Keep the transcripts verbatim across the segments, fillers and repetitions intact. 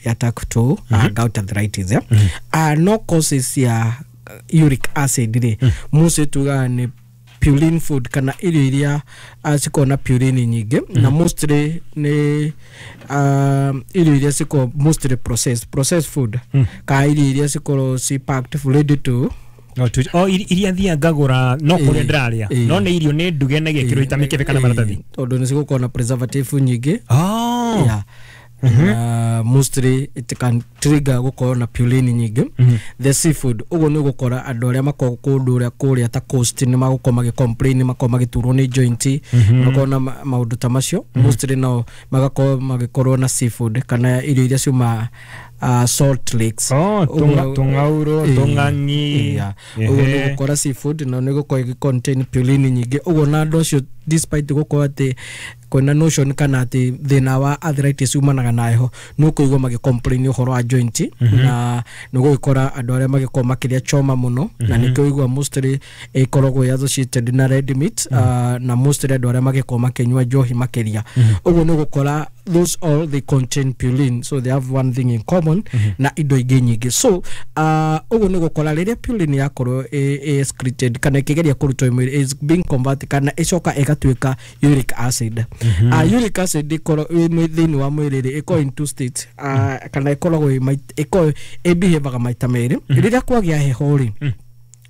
Ya type two uh, gout arthritis, yeah? uh, no causes ya uric acid rĩ, mostly tugaga nĩ purine food kana irio iria uh, cikoragwo na purine nyingĩ, na mostly nĩ uh, irio iria cikoragwo mostly processed processed food kana irio iria cikoragwo ci packed, ready to No, tu- o iri- iria thia ngagũra no kũrĩa Ĩĩ, ndĩrarĩa ĩĩ. no nĩ irio nĩ nduge na gĩkĩrwo ita mĩkebe kana maratathi. Tondũ nĩ cigũkorwo na preservative nyingĩ. Oh. Yeah. Uh, mostly it can trigger gũkorwo na purine nyingĩ. The seafood, ũguo nĩ ũgũkora andũ arĩa makoragwo kũndũ ũrĩa kũrĩa ta coast nĩ magũkorwo magĩ complain, nĩ makorwo magĩturwo nĩ joint, makorwo na ma- maũndũ ta macio. Mostly no magakorwo magĩkorwo na seafood kana irio iria ciuma uh, salt lakes. Oh, Ũguo- tũng'a- tũng'aurũ, Ĩĩ. tũng'ang'i. Yeah. Ũguo nĩ Ehe. gũkora seafood na nĩ gũkorwo ĩgĩ contain purine nyingĩ. Ũguo na andũ acio, despite gũkorwo atĩ kwĩna notion kana atĩ thĩna wa arthritis umanaga na heho, nĩ ũkũigua magĩ complain ũhoro wa joint, na nĩ ũgũgĩkora andũ arĩa magĩkorwo makĩrĩa choma mũno, na nĩkĩo ũigua mostly ĩkoragwo ĩ associated na red meat, uh, na mostly andũ arĩa magĩkorwo makĩnyua njohi makĩria. Ũguo nĩ ũgũkora those all, they contain purine, so they have one thing in common na indo ingĩ nyingĩ. So uh, ũguo nĩ gũkora rĩrĩa purine yakorwo ĩ ĩ excreted kana ĩkĩgeria kũrutwo mwĩrĩ, is being converted kana ĩcoka ĩgatuĩka uric acid. uh, uric acid ĩkorwo ĩ mwĩ- thĩinĩ wa mwĩrĩ rĩ, ĩkorwo in two states, uh, kana ĩkoragwo ĩ mait- ĩkoragwo ĩbehavaga maita merĩ. Rĩrĩa kwagĩa heho rĩ,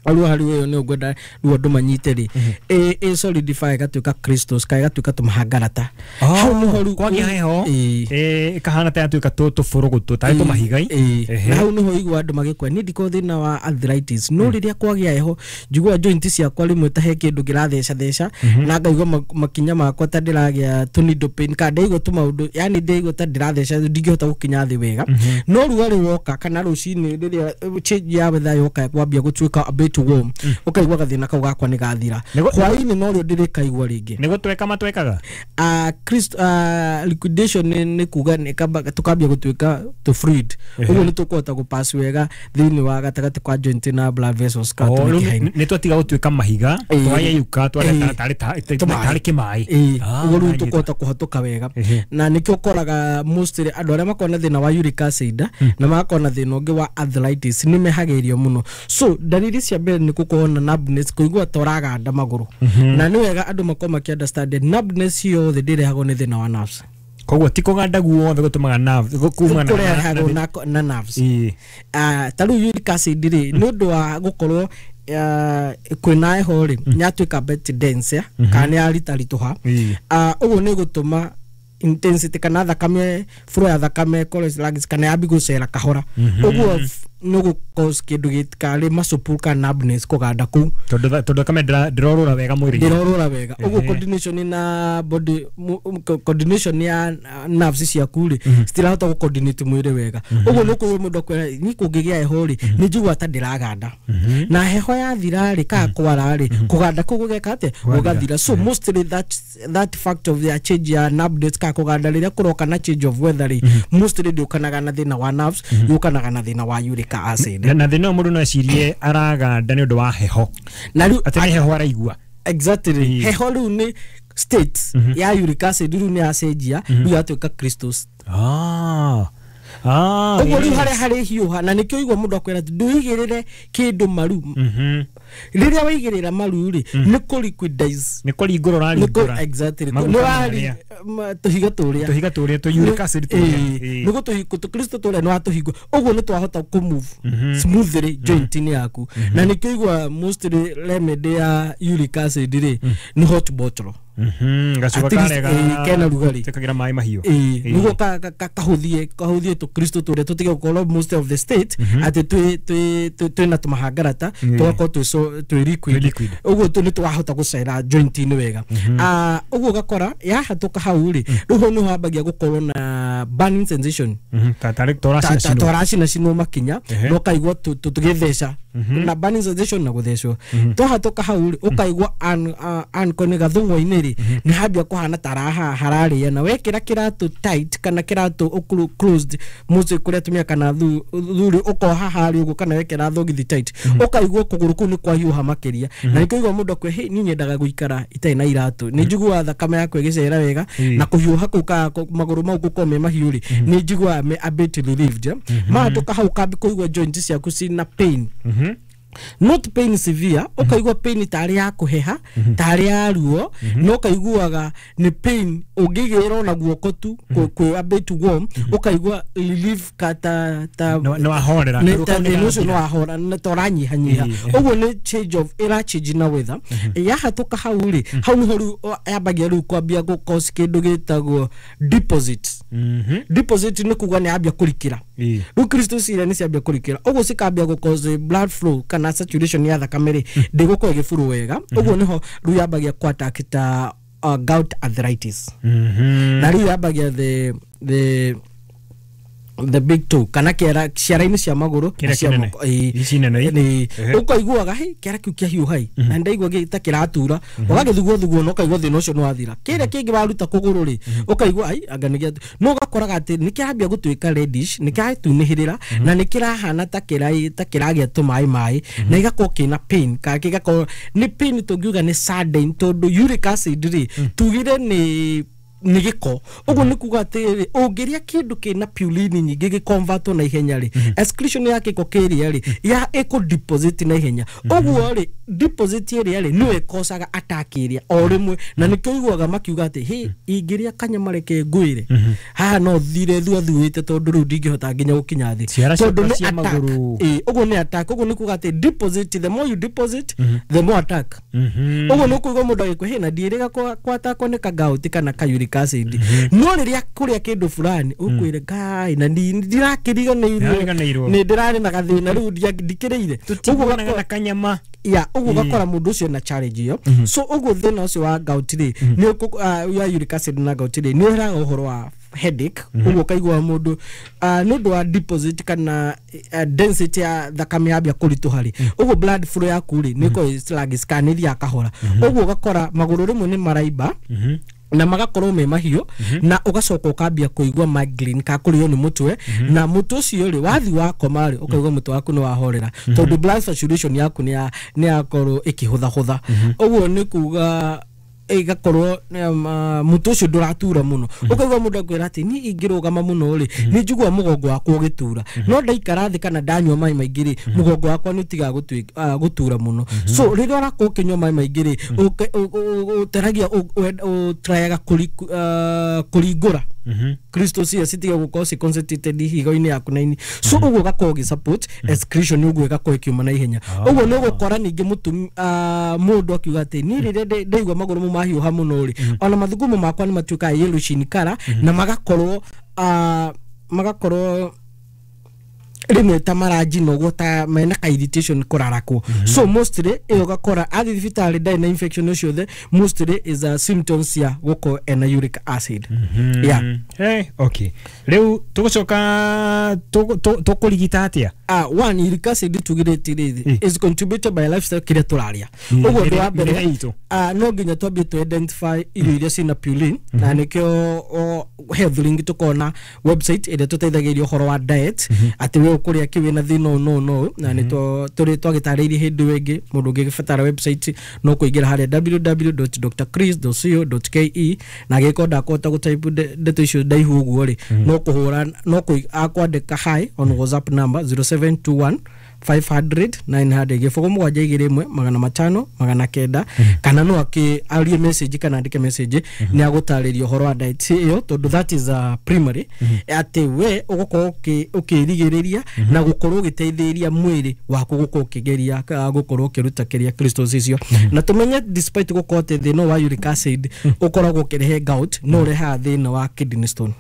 rĩu harĩ ũyũ nĩ ũngwenda rĩu andũ manyite rĩ, ĩ ĩ solidify ĩgatuĩka crystals kana ĩgatuĩka tũmahangarata. Hau nĩho rĩu- Kwagĩa heho Ĩĩ. ĩ, ĩkahana ta yatuĩka tũ- tũbũrũgũtũ tarĩ tũmahigai. Ĩĩ. Ehe. Na hau nĩho igua andũ magĩkwa niĩ ndikoragwo thĩna wa arthritis, no rĩrĩa kwagĩa heho njiguaga joint ciakwa rĩmwe ta he kĩndũ kĩratheca theca, na ngaigua ma- makinya makwa ta ndĩragĩa tũ needle pain kana ndaigua tũmaũndũ, yani ndaigua ta ndĩratheca, ndingĩhota gũkinya thĩ wega. No rugarĩ woka kana rũcinĩ rĩrĩa eh, change ya weather yoka kwambia gũtuĩka a bit warm, ũkaigua gathĩna kau gakwa nĩ gathira. Nĩguo- Hwaĩ-inĩ norĩo ndĩrĩkaigua rĩngĩ. Nĩ gũtweka matwekaga. uh, Christ, uh, liquidation nĩ nĩ kuga nĩ kamba- tũkambia gũtuĩka tũ fluid. Ũguo nĩ tũkũhota gũpass wega thĩinĩ wa gatagatĩ kwa joint na blood vessels kana Oh, rĩu tũmĩkiha-inĩ. nĩ- nĩ twatiga gũtuĩka mahiga, Ĩĩ. twayeyuka Ĩĩ. tarĩ Tũmaĩ. tarĩ kĩmaĩ. Ĩĩ, Ah, ũguo rĩu nanyita. tũkũhota kũhatũka wega. Ehe. Na nĩkĩo ũkoraga mostly andũ arĩa makoragwo na thĩna wa uric acid na magakorwo na thĩna ũngĩ wa arthritis nĩ mehagĩrio mũno. So ndariri cia mbere nĩ gũkorwo na numbness, kũigua ta ũraganda magũrũ. Na nĩ wega andũ makorwo makĩ understand numbness yothe ndĩrehagwo nĩ thĩna wa nerves. Koguo ti kũganda guothe gũtũmaga nerve gu- kuma na- Kũrehagwo na- na, na nerves. Ĩĩ. Ah, ta rĩu uric acid rĩ, nĩ ũndũ wa gũkorwo ah, kwĩna heho rĩ, nĩ yatuĩka bit dense ya, kana nĩ yaritaritũha. Ĩĩ. Ah, ũguo nĩ gũtũma intensity kana thakame, flow ya thakame ĩkorwo sluggish kana yambi gũcera kahora. Ũguo f- nĩ gũ cause kĩndũ gĩtikarĩ muscle pull kana numbness, kũganda kũu. Tondũ tha- tondũ thakame ndĩra- ndĩrorũra wega mwĩrĩ-inĩ. Ndĩrorũra wega. Ũguo Ehe. coordination na body mu- mu- co- coordination ya uh, nerves ciaku rĩ, citirahota gũ coordinate mwĩrĩ wega. Ũguo nĩ ũkũigua mũndũ akwĩra, ni kũngĩgĩa heho rĩ, nĩ njiguaga ta ndĩraganda, na heho yathira rĩ kana kwara rĩ, kũganda kũu gũgeka atĩa? Gũgathira. So mostly that that fact of the change ya numbness kana kũganda rĩrĩa kũroka na change of weather rĩ, mostly ndĩũkanaga na thĩna wa nerves, yũkanaga na thĩna wa uric acid. na na thĩna ũyũ mũndũ no ecirie araganda nĩ ũndũ wa heho, Na rĩu atĩ nĩ heho araigua. Exactly. Ĩĩ. Heho rĩu nĩ state ya uric acid, rĩu nĩ yacenjia, rĩu yatuĩka crystals. Ah. Ah, Ũguo rĩu yes. harĩa harĩ hiũha, na nĩkĩo igua mũndũ akwĩra atĩ ndũigĩrĩre kĩndũ maru. Mhm. Rĩrĩa waigĩrĩra maru rĩ, nĩ kũ liquidize. Nĩ kũringũra Nĩ kũ ũraringũra. Exactly. Maguta Nĩ wari marĩa. ma- tũhiga tũrĩa. Tũhiga tũrĩa tũ uric acid tũrĩa. Ĩĩ. Nĩ gũtũ crystal tũrĩa nĩ watũhingwo, ũguo nĩ twahota kũ move smoothly joint-inĩ yaku. Na nĩkĩo igua mostly remedy ya uric acid rĩ nĩ hot bottle. Mhm, gacuba At least, karĩa ĩĩ, kena rugarĩ. Tũkagĩra maĩ mahiũ. Ĩĩ, Ĩĩ. nĩguo ka- ka- ka- kahũthie kahũthie tũ crystal tũrĩa tũtige gũkorwo most of the state atĩ twĩ twĩ twĩ- twĩna tũmahangarata, Ĩĩ. tũgakorwo twĩ so- twĩ liquid. Twĩ liquid. Ũguo tũ nĩ twahota gũcera joint-inĩ wega. Ah, ũguo ũgakora yahatũka hau rĩ, rĩu hau nĩho hambagia gũkorwo na burning sensation. Mhm, ta tarĩ Ta- ta- toracina. toracina cinwo makinya. Ehe. Na ũkaigua tũ- tũ- tũgĩtheca. Na burning sensation na gũthecwo. Twahatoka hau rĩ, ũkaigua an uh, nĩ gathũng'wa-inĩ rĩ, nĩ hambia kũhana taraha hararĩa, na wekĩra kĩratũ tight kana kĩratũ ũkuru- closed mũciĩ kũrĩa atumia kana thu- thuri ũkoha harĩa ũguo, kana wekĩra thogithi tight, ũkaigua kũgũrũ kũu nĩ kwahiũha makĩria. Na nĩkĩo mũndũ akwe, "Hey, niĩ nyendaga gũikara itarĩ na iratũ, nĩ njiguaga thakame yakwa ĩgĩcera wega." Ĩĩ. Na kũhiũha kũu ka kũ- magũrũ mau gũkorwo me mahiũ rĩ, nĩ njiguaga me a bit relieved, eh. Mahatoka hau, ũkambi kũigua joint ciaku cina pain, not pain severe, ũkaigua pain tarĩ ya kũheha, tarĩ ya ruo, no ũkaiguaga nĩ pain ũngĩgĩra ona guoko tu kwĩ kwĩ a bit warm, ũkaigua relief ka ta ta nĩ wahorera. Nĩ ta thĩna ũcio nĩ wahora, nĩ ta ũranyihanyiha. Ĩĩ. Ũguo nĩ change of ĩra change na weather. Yahatũka hau rĩ, hau nĩho rĩu o- yambagia rĩu kwambia gũ cause kĩndũ gĩtagwo deposit. Deposit nĩ kuga nĩ yambia kũrikĩra. Ĩĩ. Rĩu crystals iria nĩ ciambia kũrikĩra, ũguo cikambia gũ cause blood flow kana saturation ya thakame rĩ ndĩgũkorwo ĩgĩburu wega. Ũguo nĩho rĩu yambagia kũ attack ta uh, gout arthritis. Na rĩu yambagia the the the big toe kana kĩara ciara-inĩ cia magũrũ Kĩrĩa na cia kĩnene. moko. Ĩĩ. Ici nene ii? Nĩ Ehe. ũkaiguaga hĩ kĩara kĩu kĩahiũha ĩ, na ndaigua gĩ- ta kĩratura, ũgagĩthugwo thuguo na ũkaigua thĩna ũcio nĩ wathira. Kĩrĩa kĩngĩ waruta kũgũrũ rĩ, ũkaigua ai anga nĩ gĩa, no ũgakoraga atĩ nĩ kĩrambia gũtuĩka reddish, nĩ kĩratunĩhĩrĩra na nĩ kĩrahana ta kĩra ta kĩragĩa tũmaĩ maĩ, na gĩgakorwo kĩna pain, kana gĩgakorwo nĩ pain tũngiuga nĩ sudden, tondũ uric acid rĩ, tugire nĩ nĩ gĩko. Ũguo nĩ kuga atĩrĩrĩ, ũngĩrĩa kĩndũ kĩna purine nyingĩ gĩconvertwo na ihenya rĩ, excretion ya gĩko kĩrĩa rĩ ya ĩkũ deposit na ihenya. Ũguo rĩ, deposit ĩrĩa rĩ nĩyo ĩkocaga attack ĩrĩa o rĩmwe. Na nĩkĩo ũiguaga makiuga atĩ hĩ, ingĩrĩa kanyama reke ngwĩre haha no thire thuathuĩte, tondũ rĩu ndingĩhota nginya gũkinya thĩ. Ciara tondũ ciakwa nĩ cia attack. magũrũ. Ĩĩ, ũguo nĩ attack. Ũguo nĩ kuga atĩ deposit, the more you deposit, the more attack. Ũguo nĩ ũkũigua mũndũ agĩkwĩ na ndiĩrĩga kwatakwo nĩ kagauti kana ka uric acid, no rĩrĩa kũrĩa kĩndũ fulani ũkwĩre ngai na ndi- ndirakĩriganĩirwo. Ndĩrariganĩirwo. Nĩ ndĩrarĩ na gathĩna rĩu ndia- ndikĩrĩire. Ũguo tũtiguanaga ũgakora- na kanyama. Ya, ũguo ũgakora mũndũ ũcio na challenge ĩyo. So ũguo thĩna ũcio wa gout rĩ, nĩ ũkũ- ah, ya uric acid na gout rĩ, nĩ ũheaga ũhoro wa headache. Ũguo ũkaigua mũndũ ah, nĩ ũndũ wa deposit kana ah, density ya thakame yambia kũritũha rĩ, ũguo blood flow yaku rĩ nĩ ĩkoragwo ĩ sluggish kana nĩ ĩthiaga kahora. Ũguo ũgakora magũrũ rĩmwe nĩ maraimba na magakorwo me mahiũ, na ũgacoka ũkambia kũigua migraine ka kũrĩo nĩ mũtwe. Na mũtwe ũcio rĩ, wathi wakoma rĩ, ũkaigua mũtwe waku nĩ wahorera, tondũ blood saturation yaku nĩ ya- nĩ yakorwo ĩkĩhũthahũtha. Ũguo nĩ kuga ĩgakorwo um, uh, mũtwe ũcio ndũratura mũno. Ũkaigua mũndũ akwĩra atĩ niĩ ingĩrũgama mũno rĩ, nĩ njiguaga mũgongo wakwa ũgĩtura, no ndaikara thĩ kana ndanyua maĩ maingĩ rĩ, mũgongo wakwa nĩ ũtigaga gũtuĩ- ah, gũtura mũno. So rĩrĩa ũrakorwo ũkĩnyua maĩ maingĩ rĩ, ũke- ũ- ũ- ũteragia ũtrayaga kũringũra crystals iria citige gũkorwo ci concentrated higo-inĩ yaku na ini. So ũguo ũgakorwo ũgĩ support excretion, ũguo ĩgakorwo ĩkiuma na ihenya. Ũguo nĩ ũgũkora ningĩ mũtumi ah, mũndũ akiuga atĩ niĩ rĩrĩa ndĩ- ndaigua magũrũ mau mahiũha mũno rĩ, ona mathugumo makwa nĩ matuĩkaga yellowish in color, na magakorwo ah, magakorwo rĩmwe ta maranjina ũguo, ta mena ka irritation kũrarakwo. So mostly ĩyo ũgakora athiĩ thibitarĩ ndarĩ na infection ũcio, mostly is a symptoms cia gũkorwo ena uric acid, yeah. Hey, okay, rĩu tũgũcoka tũkũrigita atĩa? uh, one uric acid tugirĩte rĩ Mm. is contributed by lifestyle, kĩrĩa tũrarĩa. Mm. Ũguo ũndũ wa Mĩrĩre mbere itũ. uh, no nginya twambie to identify irio iria ciĩna purine. Na nĩkĩo o, Health Link tũkona website ĩrĩa tũteithagĩrĩria ũhoro wa diet, atĩ we ũkũrĩa kĩ wĩna thĩna ũyũ no no na nĩ tũrĩ twagĩtarĩirie hĩndĩ ĩyo ĩngĩ. Mũndũ ũngĩgĩbatara website no kũingĩra harĩa w w w dot d r chris dot co dot k e, na angĩkorwo ndakũhota gũtype nde- ndeto icio ndaihu ũguo rĩ, no kũhũra no kũi- akwandĩka hi on WhatsApp number zero seven two one five hundred nine hundred, gĩbũgũ mũgwanja igĩrĩ ĩmwe magana matano magana kenda, kana no akĩ arie message kana andĩke message, nĩ agũtarĩria ũhoro wa diet ĩyo, tondũ that is a primary atĩ we ũgũkorwo ũkĩ- ũkĩrigĩrĩria na gũkorwo ũgĩteithĩrĩria mwĩrĩ waku gũkorwo ũkĩgeria ah, gũkorwo ũkĩruta kĩrĩa crystals icio. Na tũmenye despite gũkorwo atĩ thĩna wa uric acid ũkoragwo ũkĩrehe gout, no ũrehaga thĩna wa kidney stone.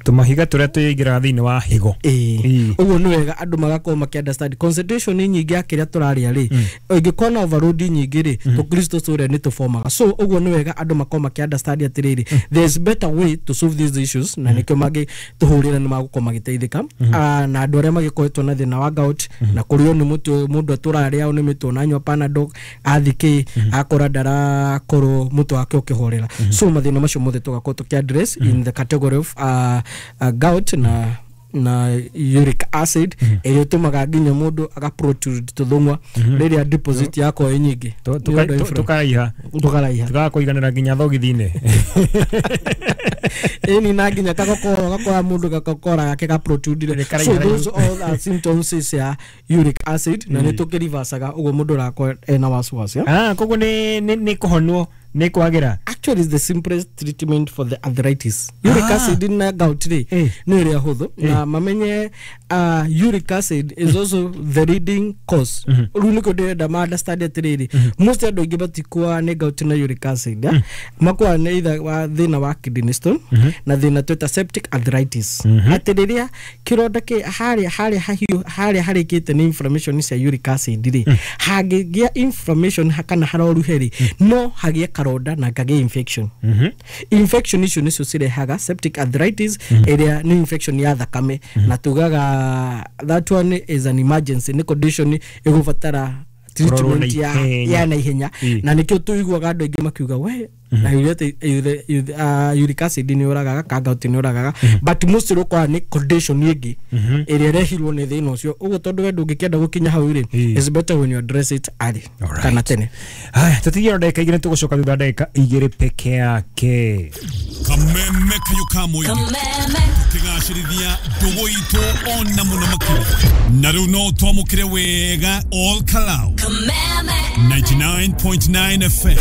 Tũmahiga tũrĩa tũingĩraga thĩinĩ wa higo. Ĩĩ, ũguo nĩ wega andũ magakorwo makĩ understand concentration nyingĩ ya kĩrĩa tũrarĩa rĩ, ĩngĩkorwo na overload nyingĩ rĩ, tũ crystals tũrĩa nĩ tũformaga. So ũguo nĩ wega andũ makorwo makĩ understand atĩrĩrĩ, there's better way to solve these issues, na nĩkĩo mangĩtũhũrĩra nĩ magũkorwo magĩteithĩka. Ah, na andũ arĩa magĩkoretwo na thĩna wa gout na kũrĩo nĩ mũtwe, mũndũ atũrarĩa nĩ mĩtwe nanyua Panadol athikĩ akora ndarakorwo mũtwe wake ũkĩhorera. So mathĩna macio mothe tũgakorwo tũkĩ address in the category of uh, uh, gout na na uric acid ĩrĩa ĩtũmaga nginya mũndũ aga protrude tũthũng'wa rĩrĩa deposit yakorwo ĩ nyingĩ. Tũkaraiha. Tũkaraiha. Tũkaga kũiganĩra nginya thogithi-inĩ. Ĩni na nginya kagokora gakora mũndũ gakokora gake ga protrude. So those all are symptoms ya uric acid na nĩ tũkĩrivacaga ũguo mũndũ ũrakorwo ena wasiwasi. Ah, koguo nĩ nĩ kũhonwo nĩ kwagĩra. Actually is the simplest treatment for the arthritis. Uric ah. acid na gout rĩ eh. nĩ ĩrĩa hũthũ eh. na mamenye uh, uric acid is also the leading cause. Rĩu nĩkĩo ndĩrenda ma understand atĩrĩrĩ, most andũ aingĩ matikuaga nĩ gout na uric acid, mm. makuaga nĩ either wa thĩna wa kidney stone mm -hmm. na thĩna twĩta septic arthritis. Mm -hmm. Atĩ rĩrĩa kĩronda kĩ harĩa harĩa hahiũ harĩa harĩkĩte nĩ inflammation cia uric acid rĩ, mm. hangĩgĩa inflammation kana haroruhe rĩ, mm. no hagĩe karonda na kagĩe infection. Mm -hmm. Infection icio nicio cirehaga septic arthritis ĩrĩa mm. nĩ infection ya thakame mm -hmm. na tugaga that one is an emergency, nĩ condition ĩgũbatara treatment ya ya na ihenya, na nĩkĩo tũiguaga andũ aingĩ makiuga we na uric acid nĩ ũragaga ka gout nĩ ũragaga, but most ũkora nĩ condition ĩngĩ ĩrĩa ĩrehirwo nĩ thĩna ũcio. Ũguo tondũ we ndũngĩkĩenda gũkinya hau rĩ, is better when you address it early kana tene. Haya, tũtigie ndagĩka igĩrĩ tũgũcoka thutha ndagĩka igĩrĩ peke yake. Kameme kayo kamwe tukigacĩrithia ndũgũ itũ ona mũno makĩria, na rĩu no twamũkĩre wega all Kalau ninety-nine point nine F M.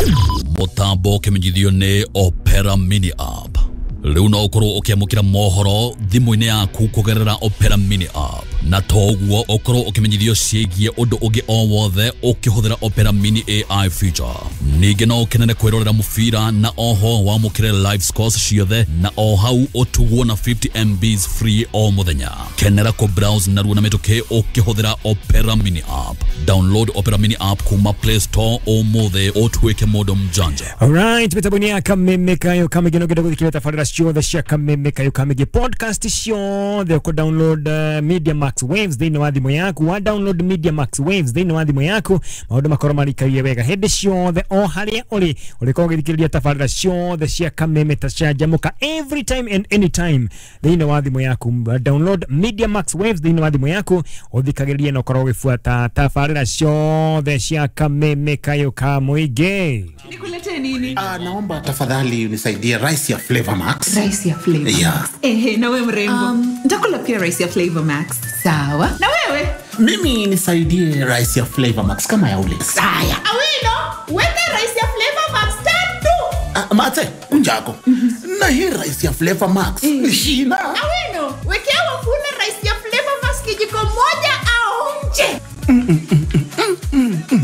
Mũtambo ũkĩmenyithio nĩ Opera Mini App. Rĩu no ũkorwo ũkĩamũkĩra mohoro thimũ-inĩ yaku kũgerera Opera Mini App, na toguo ũkorwo ũkĩmenyithio ciĩgiĩ ũndũ ũngĩ o wothe ũkĩhũthĩra Opera Mini A I feature. Ningĩ no ũkenere kwĩrorera mũbira na oho wamũkĩre live scores ciothe, na o hau ũtugwo na fifty M Bs free o mũthenya. Kenera kũ browse narua na mĩtũkĩ ũkĩhũthĩra Opera Mini App. Download Opera Mini App kuma Play Store ũmũthĩ ũtuĩke mũndũ mjanja. Alright, mĩtambo-inĩ ya Kameme Kayo Kamĩngĩ no ngĩenda gũthikĩrĩria tabarĩra ciothe cia Kameme Kayo Kamĩngĩ podcast ciothe ũkũ download uh, Media Max Waves thĩinĩ wa thimũ yaku. Wa download Media Max Waves thĩinĩ wa thimũ yaku, maũndũ makorwo marikarie wega hĩndĩ ciothe o harĩa ũrĩ. Ũrĩkorwo ũgĩthikĩrĩria tabarĩra ciothe cia Kameme ta canjamũka every time and anytime thĩinĩ wa thimũ yaku. Download Media Max Waves thĩinĩ wa thimũ yaku ũthikagĩrĩrie na ũkorwo ũgĩbuata tabarĩra ciothe cia Kameme Kayo Kamũingĩ. Nikulete nini? Ah, naomba tafadhali unisaidie rice ya Flavor Max. Rice ya Flavor yeah. Max. Ehe, na wewe mrembo. Um, nitakula pia rice ya Flavor Max. Sawa. Na wewe? Mimi nisaidie rice ya Flavor Max kama ya ule. Saya. Awino, weka rice ya Flavor Max tatu. Ah, mate, unjako. Mm -hmm. Na hii rice ya Flavor Max ni shina. Awino, wekea wafula rice ya Flavor Max kijiko moja aonje. Mm -mm -mm -mm -mm -mm.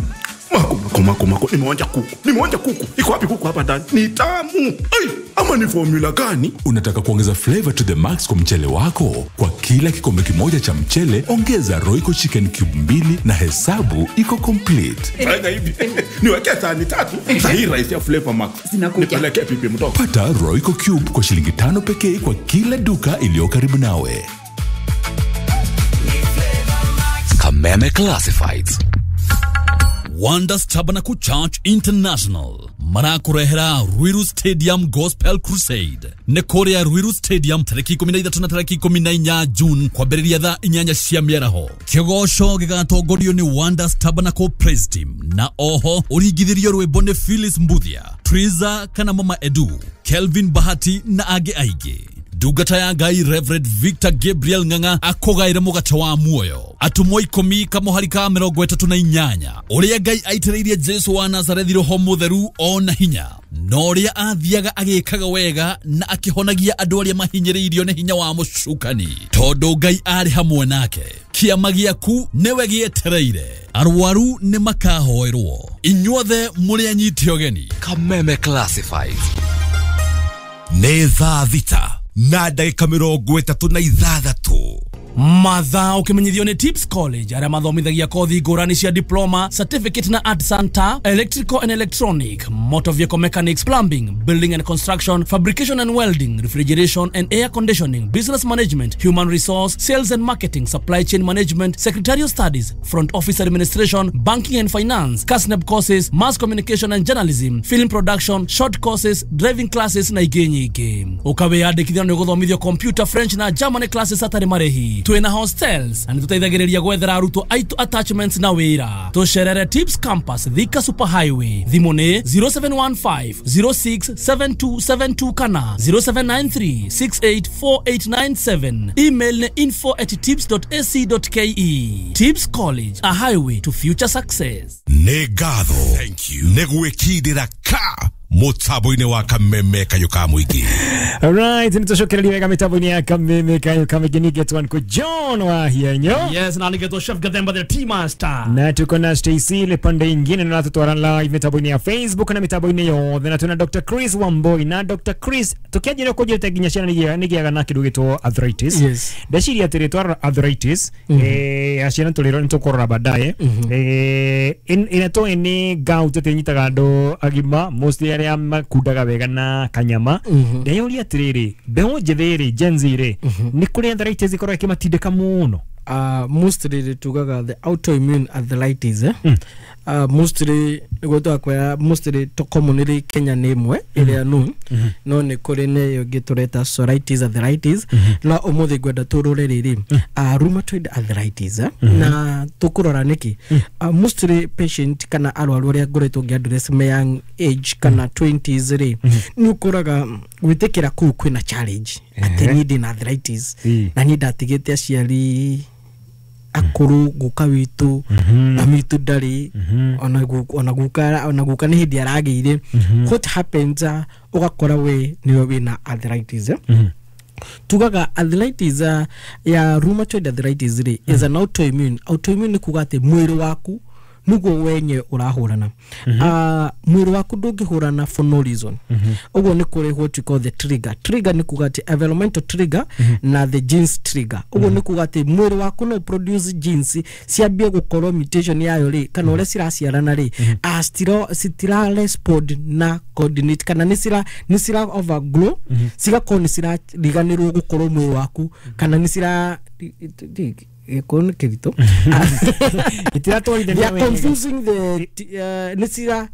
Mako, mako, mako, mako, nimeonja kuku. Nimeonja kuku. Iko wapi kuku hapa ndani? Ni tamu. Ai, ama ni formula gani? Unataka kuongeza flavor to the max kwa mchele wako? Kwa kila kikombe kimoja cha mchele, ongeza Royco Chicken Cube mbili na hesabu iko complete. Fanya hivi. Niwekee sahani tatu. Sahi rice ya Flavor Max. Zinakuja. Nipeleke pipi mtoto. Pata Royco Cube kwa shilingi tano pekee kwa kila duka iliyo karibu nawe. Kameme Classifieds. Wonders Tabernacle Church International marakurehera Ruiru Stadium Gospel Crusade nĩ kũrĩa Ruiru Stadium tarĩki ikũmi na ithatũ na tarĩki ikũmi na inya June kwambĩrĩria thaa inyanya cia mĩaraho. Kĩgoco gĩgatongorio nĩ Wonders Tabernacle Praise Team na oho ũringithĩrio rwĩmbo nĩ Phyllis Mbuthia, Triza kana Mama Edu, Kelvin Bahati na angĩ aingĩ. Ndungata ya Ngai Reverend Victor Gabriel Ng'ang'a akũgaĩre mũgate wa muoyo. Atũmwo ikũmi kamũhari ka mĩrongo ĩtatũ na inyanya. Ũrĩa Ngai aitĩrĩirie Jesu wa Nazarethi roho mũtheru ona hinya. Na ũrĩa athiaga agĩkaga wega na akĩhonagia andũ arĩa mahinyĩrĩirio nĩ hinya wa mũcukani. Tondũ Ngai arĩ hamwe nake. Kĩama gĩaku nĩwe gĩetereire. Arwaru nĩ makahoerwo. Inyuothe mũrĩ anyiti ũgeni. Kameme Classifieds. Nĩ thaa thita. Na ndagĩka mĩrongo ĩtatũ na ithathatũ. Mathaa ũkĩmenyithio nĩ Tips College arĩa mathomithagia kothi ngũrani cia diploma, certificate na art center, electrical and electronic, motor vehicle mechanics, plumbing, building and construction, fabrication and welding, refrigeration and air conditioning, business management, human resource, sales and marketing, supply chain management, secretarial studies, front office administration, banking and finance, KASNEB courses, mass communication and journalism, film production, short courses, driving classes na ingĩ nyingĩ. Ũkawĩyandĩkithia nĩ ũgũthomithio computer, French na German classes hatarĩ marĩhi. Twĩna hostels na nĩtũteithagĩrĩria gwethera arutwo aitũ attachments na wĩra. Tũcerere Tips Campus, Thika Super Highway. Thimũ nĩ zero seven one five zero six seven two seven two kana zero seven nine three six eight four eight nine seven. Email nĩ info at tips dot a c dot k e. Tips College, a highway to future success. Nĩ ngatho nĩ gwĩkindĩra ka mũtambo-inĩ wa Kameme Kayũ ka Mũingĩ. Alright, nitũcokereria wega mĩtambo-inĩ ya Kameme Kayũ ka Mũingĩ. Nĩngetwo nĩ John wa Hienyo. Yes, na nĩngetwo Chef Gathemba the Tea Master. Na tuko na Stacy ile pande ingine na tutwara live mĩtambo-inĩ ya Facebook na mĩtambo-inĩ yothe, na tuna Doctor Chris Wamboi. Na Doctor Chris, tukianjĩrĩria kũnjĩta nginya ciana nĩgĩaga na kĩndũ gĩtwo arthritis. Yes. Ndeciria atĩrĩ twarora arthritis, eh aciana tũrĩro nĩtũkũrora baadaye. Eh ĩna nĩ gout atĩ ĩnyitaga andũ agima mostly arĩa makundaga wega na kanyama. Ndeyũria atĩrĩrĩ, mbeũ njĩthĩ rĩ, Gen Z rĩ, nĩ kũrĩ arthritis ĩkoragwo ĩkĩmatindĩka mũno? Uh, mostly tugaga the autoimmune arthritis, eh? Mm. Uh, mostly nĩguo mostly to commonly Kenya nĩ ĩmwe ĩrĩa known, no nĩ kũrĩ nĩ ĩngĩ tũreta psoriasis arthritis. No ũmũthĩ ngwenda tũrore rĩrĩ uh, rheumatoid arthritis, eh? Na tũkũrora nĩkĩ uh, mostly patient kana arwaru arĩa ngoretwo ngĩ-address me young age kana twenties rĩ, nĩ ũkoraga gwĩtĩkĩra kũu kwĩna challenge atĩ niĩ ndĩna arthritis na niĩ ndatigĩte aciari akũrũ, guka witũ na mitũ ndarĩ, ona ona guka ona guka nĩ hĩndĩ aragĩire. What happens, uh, ũgakora we nĩwe wĩna arthritis, eh? Tugaga arthritis uh, ya rheumatoid arthritis rĩ is an autoimmune. Autoimmune nĩ kuga atĩ mwĩrĩ waku nĩguo wenye ũrahũrana. Uh, mwĩrĩ waku ndũngĩhũrana for no reason. Ũguo nĩ kũrĩ what you call the trigger. Trigger nĩ kuga atĩ environmental trigger na the genes trigger. Ũguo nĩ kuga atĩ mwĩrĩ waku no produce genes ciambie gũkorwo mutation yayo rĩ, kana ũrĩa ciraciarana rĩ, uh, citira citira respond na coordinate, kana nĩ cira nĩ cira overgrow, cigakorwo nĩ cirariganĩrwo gũkorwo mwĩrĩ waku, kana nĩ cira gĩkũyũ nĩ kĩritũ. They are confusing the uh, nĩ cira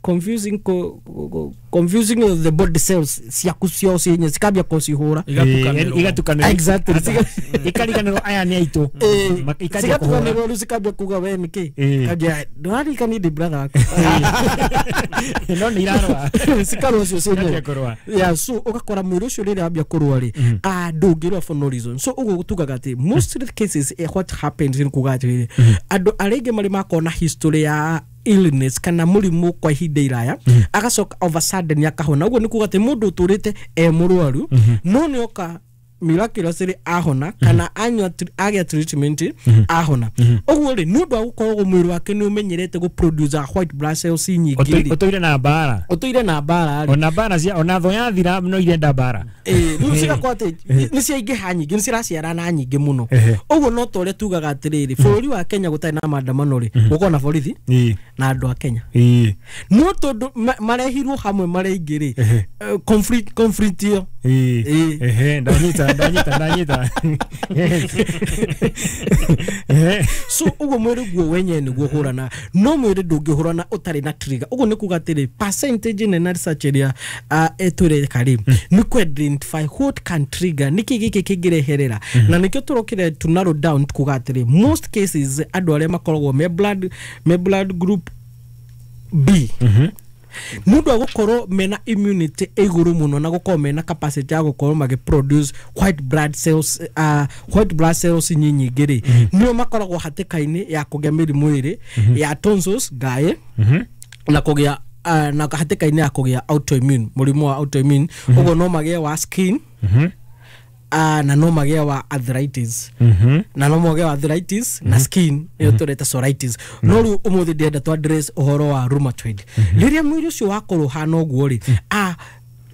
confusing ko, ko, confusing the body cells ciaku cio cienye cikambia kũcihũra igatukanĩrwo. Exactly, ikariganĩrwo aya nĩ aitũ, cigatukanĩrwo rĩu cikambia kuga we nĩkĩ kambia ndũraririkania ndĩ brother waku no nĩ irarũa cikarũa cio cienye. Yeah, so ũgakora mwĩrĩ ũcio rĩrĩa wambia kũrũa rĩ, ndũngĩrũa for no reason. So ũguo tugaga atĩ most of the cases eh, what happens nĩ kuga atĩrĩrĩ, andũ arĩa aingĩ marĩ makorwo na history ya illness kana mũrimũ kwa ihinda iraya, agacoka of a sudden akahona. Ũguo nĩ kuga atĩ mũndũ ũtũrĩte e mũrwaru no nĩ oka miraculously ahona kana anyua agĩa treatment ahona. Ũguo rĩ, nĩ ũndũ wa gũkorwo mwĩrĩ wake nĩ ũmenyerete gũ produce white blood cells nyingĩ rĩ, ũtũire na mbara ũtũire na mbara rĩ, ona mbara cia ona thũ yathira no irenda mbara, eh rĩu cigakorwo atĩ nĩ ciaingĩha nyingĩ, nĩ ciraciarana nyingĩ mũno. Ũguo no ta ũrĩa tugaga atĩrĩrĩ, bũrũri wa Kenya gũtarĩ na maandamano rĩ, gũkorwo na borithi na andũ a Kenya, no tondũ marehirwo hamwe marĩ aingĩ rĩ, conflict conflict ĩyo. Ehe, ndanyita ndanyita ndanyita. So ũguo mwĩrĩ guo wenyewe nĩguo hũrana, no mwĩrĩ ndũngĩhũrana ũtarĩ na trigger. Ũguo nĩ kuga atĩrĩ, percentage nene research ĩrĩa ĩtũreka rĩ, nĩ kũ identify what can trigger, nĩkĩ gĩkĩ kĩngĩreherera. Na nĩkĩo tũrokire to narrow down kuga atĩrĩ, most cases andũ arĩa makoragwo me blood me blood group B, mundu agukorwo mena immunity iguru muno na gukorwo mena capacity ya gukorwo magi produce white blood cells, uh, white blood cells nyinyi ri nio makoragwo hatikaini ya kugia mirimu iri ya tonsils ngae na kugia uh, na hatikaini ya kugia autoimmune, murimu wa autoimmune. Uguo no magie wa skin, uh, na no magie wa arthritis, na no magie wa arthritis na skin iyo tureta psoriasis. No riu umuthi ndienda tu address uhoro wa rheumatoid. Riria mwiri ucio wakorwo hana uguo ri, ah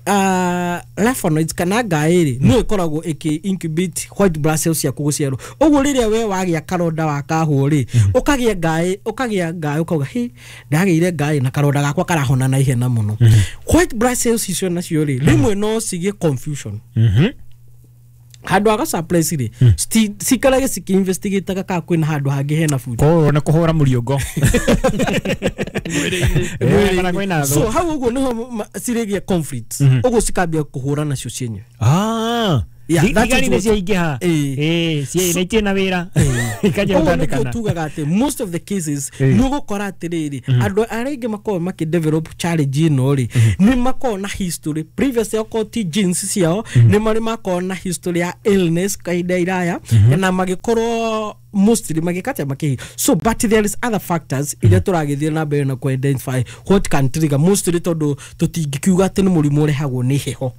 uh, lymphonoids kana ngaĩ rĩ no ĩkoragwo ĩkĩ incubate white blood cells ciaku gũciarwo. Ũguo rĩrĩa we wagĩa karonda wa kahũo rĩ, ũkagĩa ngaĩ ũkagĩa ngaĩ ũkauga hi ndagĩire ngaĩ na karonda gakwa karahona na ihenya mũno. White blood cells icio nacio rĩ rĩmwe no cigĩe confusion. Handũ ha gũsuppress rĩ, cikarage cikĩinvestigataga kana kwĩna handũ hangĩ hena food. Koguo nĩ kũhũra mũriũngo. Kana kwĩna thũ. So hau ũguo nĩho cirĩgĩa conflict. Ũguo cikambia kũhũra nacio cienyewe. Ah. Thigari nĩ ciaingĩha. Ĩĩ, ciĩ itirĩ na wĩra. Ikanjia gũtandĩkana. Ũguo tugaga atĩ most of the cases nĩ ũgũkora atĩrĩrĩ andũ arĩa aingĩ makoragwo makĩ develop challenge ĩno rĩ nĩ makoragwo na history previous okorwo ti genes ciao nĩ marĩ makoragwo na history ya illness kahinda iraya na magĩkorwo mostly magĩkate makĩhi. So but there is other factors iria tũragĩthiĩ na mbere na ku identify what can trigger mostly tondũ tũtingĩkiuga atĩ nĩ mũrimũ ũrehagwo nĩ heho.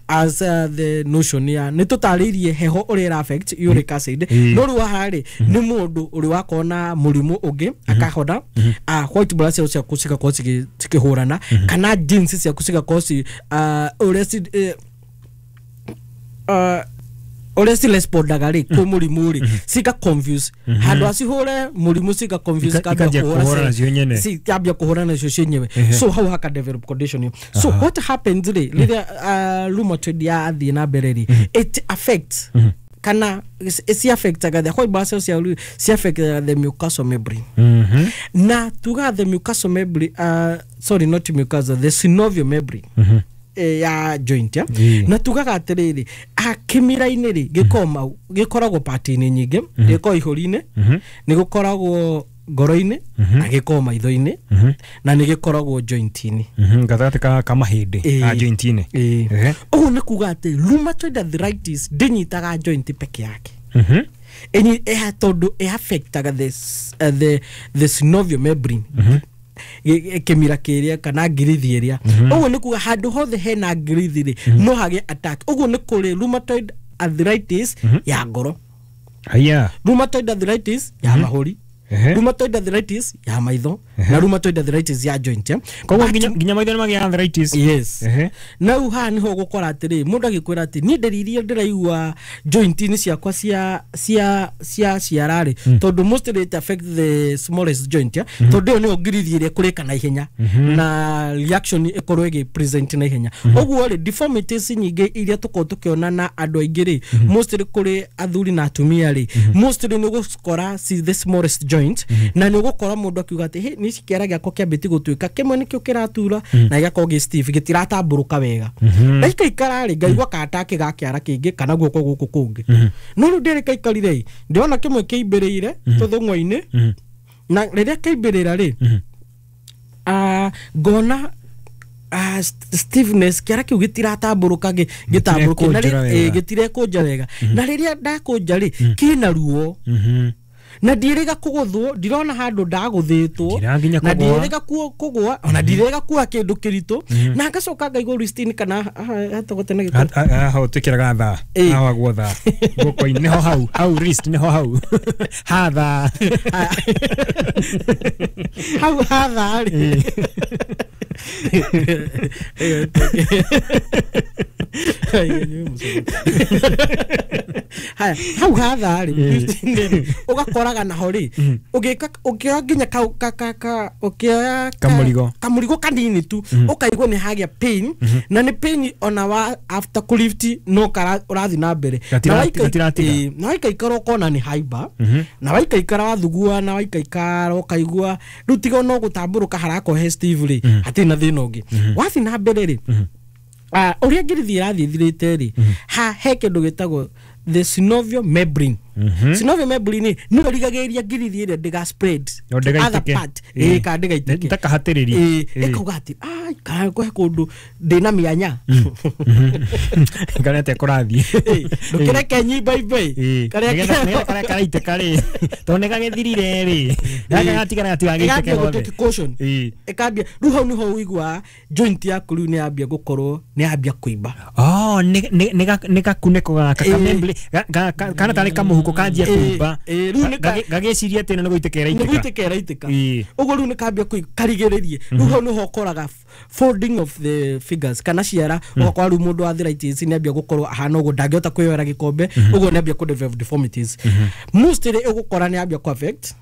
As uh, the notion ya nĩ tũtarĩirie heho ũrĩa ĩra affect uric acid, no rĩu haha rĩ nĩ mũndũ ũrĩ wakorwo na mũrimũ ũngĩ akahona, white blood cells ciaku cigakorwo cikĩhũrana kana genes ciaku cigakorwo ci ũrĩa ũrĩa cirespondaga rĩ kwĩ mũrimũ rĩ cika confuse handũ acihũre mũrimũ cika confuse ikambia kũhũra nacio cienyewe. So hau haka develop condition ĩyo. So what happens rĩ rĩrĩa rheumatoid yathiĩ na mbere rĩ, it affects kana ci affectaga the white blood cells ci affectaga the mucosal membrane. Na tuga the mucosal membrane, uh, sorry not mucosal, the synovial membrane ya joint ya. Na tugaga atiriri akimira-inĩ rĩ gĩkoragwo gĩkoragwo part-inĩ nyingĩ, gĩkoragwo ihũri-inĩ, nĩ gĩkoragwo ngoro-inĩ na gĩkoragwo maitho-inĩ na nĩ gĩkoragwo joint-inĩ gatagatĩ ka ka mahĩndĩ ka joint-inĩ. Ũguo nĩ kuga atĩ rheumatoid arthritis ndĩnyitaga joint peke yake. Ĩnyi tondũ ĩ affectaga the the the synovial membrane kĩmira kĩrĩa kana ngirithi ĩrĩa. Ũguo nĩ kuga handũ hothe hena ngirithi rĩ no hagĩe attack. Ũguo nĩ kũrĩ rheumatoid arthritis ya ngoro, haya rheumatoid arthritis ya mahũri, rheumatoid arthritis ya maitho na rheumatoid arthritis ya joint. Koguo nginya maitho nĩ magĩa arthritis. Yes. Na rĩu haha nĩho ũgũkora atĩrĩ mũndũ agĩkwĩra atĩ niĩ ndariri iria ndĩraigua joint-inĩ ciakwa cia cia cia ciara rĩ tondũ mostly it affect the smallest joint, tondũ ĩyo nĩyo ngirithi ĩrĩa ĩkũrĩka na ihenya na reaction ĩkorwo ĩgĩ present na ihenya. Ũguo rĩ deformities nyingĩ iria tũkoragwo tũkĩona na andũ aingĩ rĩ mostly kũrĩ athuri na atumia rĩ mostly nĩ ũgũkora the smallest joint na nĩ ũgũkora mũndũ akiuga atĩ hey nici kĩara gĩakwa kĩambĩtie gũtuĩka kĩmwe nĩkĩo kĩratura na gĩgakorwo gĩ stiff gĩtiratambũrũka wega. Na ikaikara rĩ ngaigua katake ga kĩara kĩngĩ kana guoko gũkũ kũngĩ. No rĩu ndĩrĩ kaikarire ĩ ndĩrona kĩmwe kĩimbĩrĩire tũthũng'wa-inĩ na rĩrĩa kĩimbĩrĩra rĩ ngona stiffness kĩara kĩu gĩtiratambũrũka gĩtambũrũke na gĩtirekũnja wega na rĩrĩa ndakũnja rĩ kĩna ruo na ndirĩga kũgũthwo ndirona handũ ndagũthĩtwo na ndirĩga kũgũa ona ndirĩga kuoa kĩndũ kĩritũ na ngacoka ngaigua wrist-inĩ kana hatogote na gĩko haha twĩkĩraga thaa haha guo thaa guoko-inĩ nĩho hau hau wrist nĩho hau hatha hau hatha rĩ haya hau hatha rĩ ũgakoraga naho rĩ ũgĩka ũkĩoya nginya ka ka ka ũkĩoya kamũrigo kamũrigo kanini tu ũkaigua nĩ hagĩa pain na nĩ pain ona wa after kũlift no ũrathiĩ na mbere na waikaikara ũkona nĩ haimba na waikaikara wathugua na waikaikara ũkaigua rĩu tiga no gũtambũrũka harakorwo he Steve rĩ hatirĩ na thĩna ũngĩ. Wathiĩ na mbere rĩ ũrĩa ngirithi ĩrathiĩ ĩthirĩte rĩ ha he kĩndũ gĩtagwo the synovial membrane. Synovial membrane nĩ ĩrigagĩrĩria ngirithi ĩrĩa ndĩga spread to other part ĩ ka ndĩgaitĩke ndakahatĩrĩrie ĩkauga atĩ ai kana kũhe kũndũ ndĩna mĩanya kana te kũrathiĩ ndũkĩreke nyimba imbe karĩa karĩa karaitĩka rĩ tondũ nĩ gagĩthirire rĩ gaka gatigara gatigagĩitĩke gothe ĩkambia rĩu hau nĩho ũiguaga joint yaku rĩu nĩ yambia gũkorwo nĩ yambia kũimba. Oh nĩ gakunĩko gaka kamembrane kana tarĩ kamũhu Kamũhuko kanjia kũimba. Ĩĩ, rĩu nĩ ka- Gagĩciria atĩ nĩ gũitĩka nĩ ĩraitĩka. gũitĩka ĩraitĩka. Ĩĩ. Ũguo rĩu nĩ kambia karigĩrĩrie, rĩu hau nĩho ũkoraga folding of the fingers kana ciara, ũgakora rĩu mũndũ wa arthritis nĩ ambia gũkorwo ahana ũguo, ndangĩhota kwĩyoera gĩkombe, ũguo nĩ ambia kũ develop deformities. Mostly ũgũkora nĩ ambia kũ affect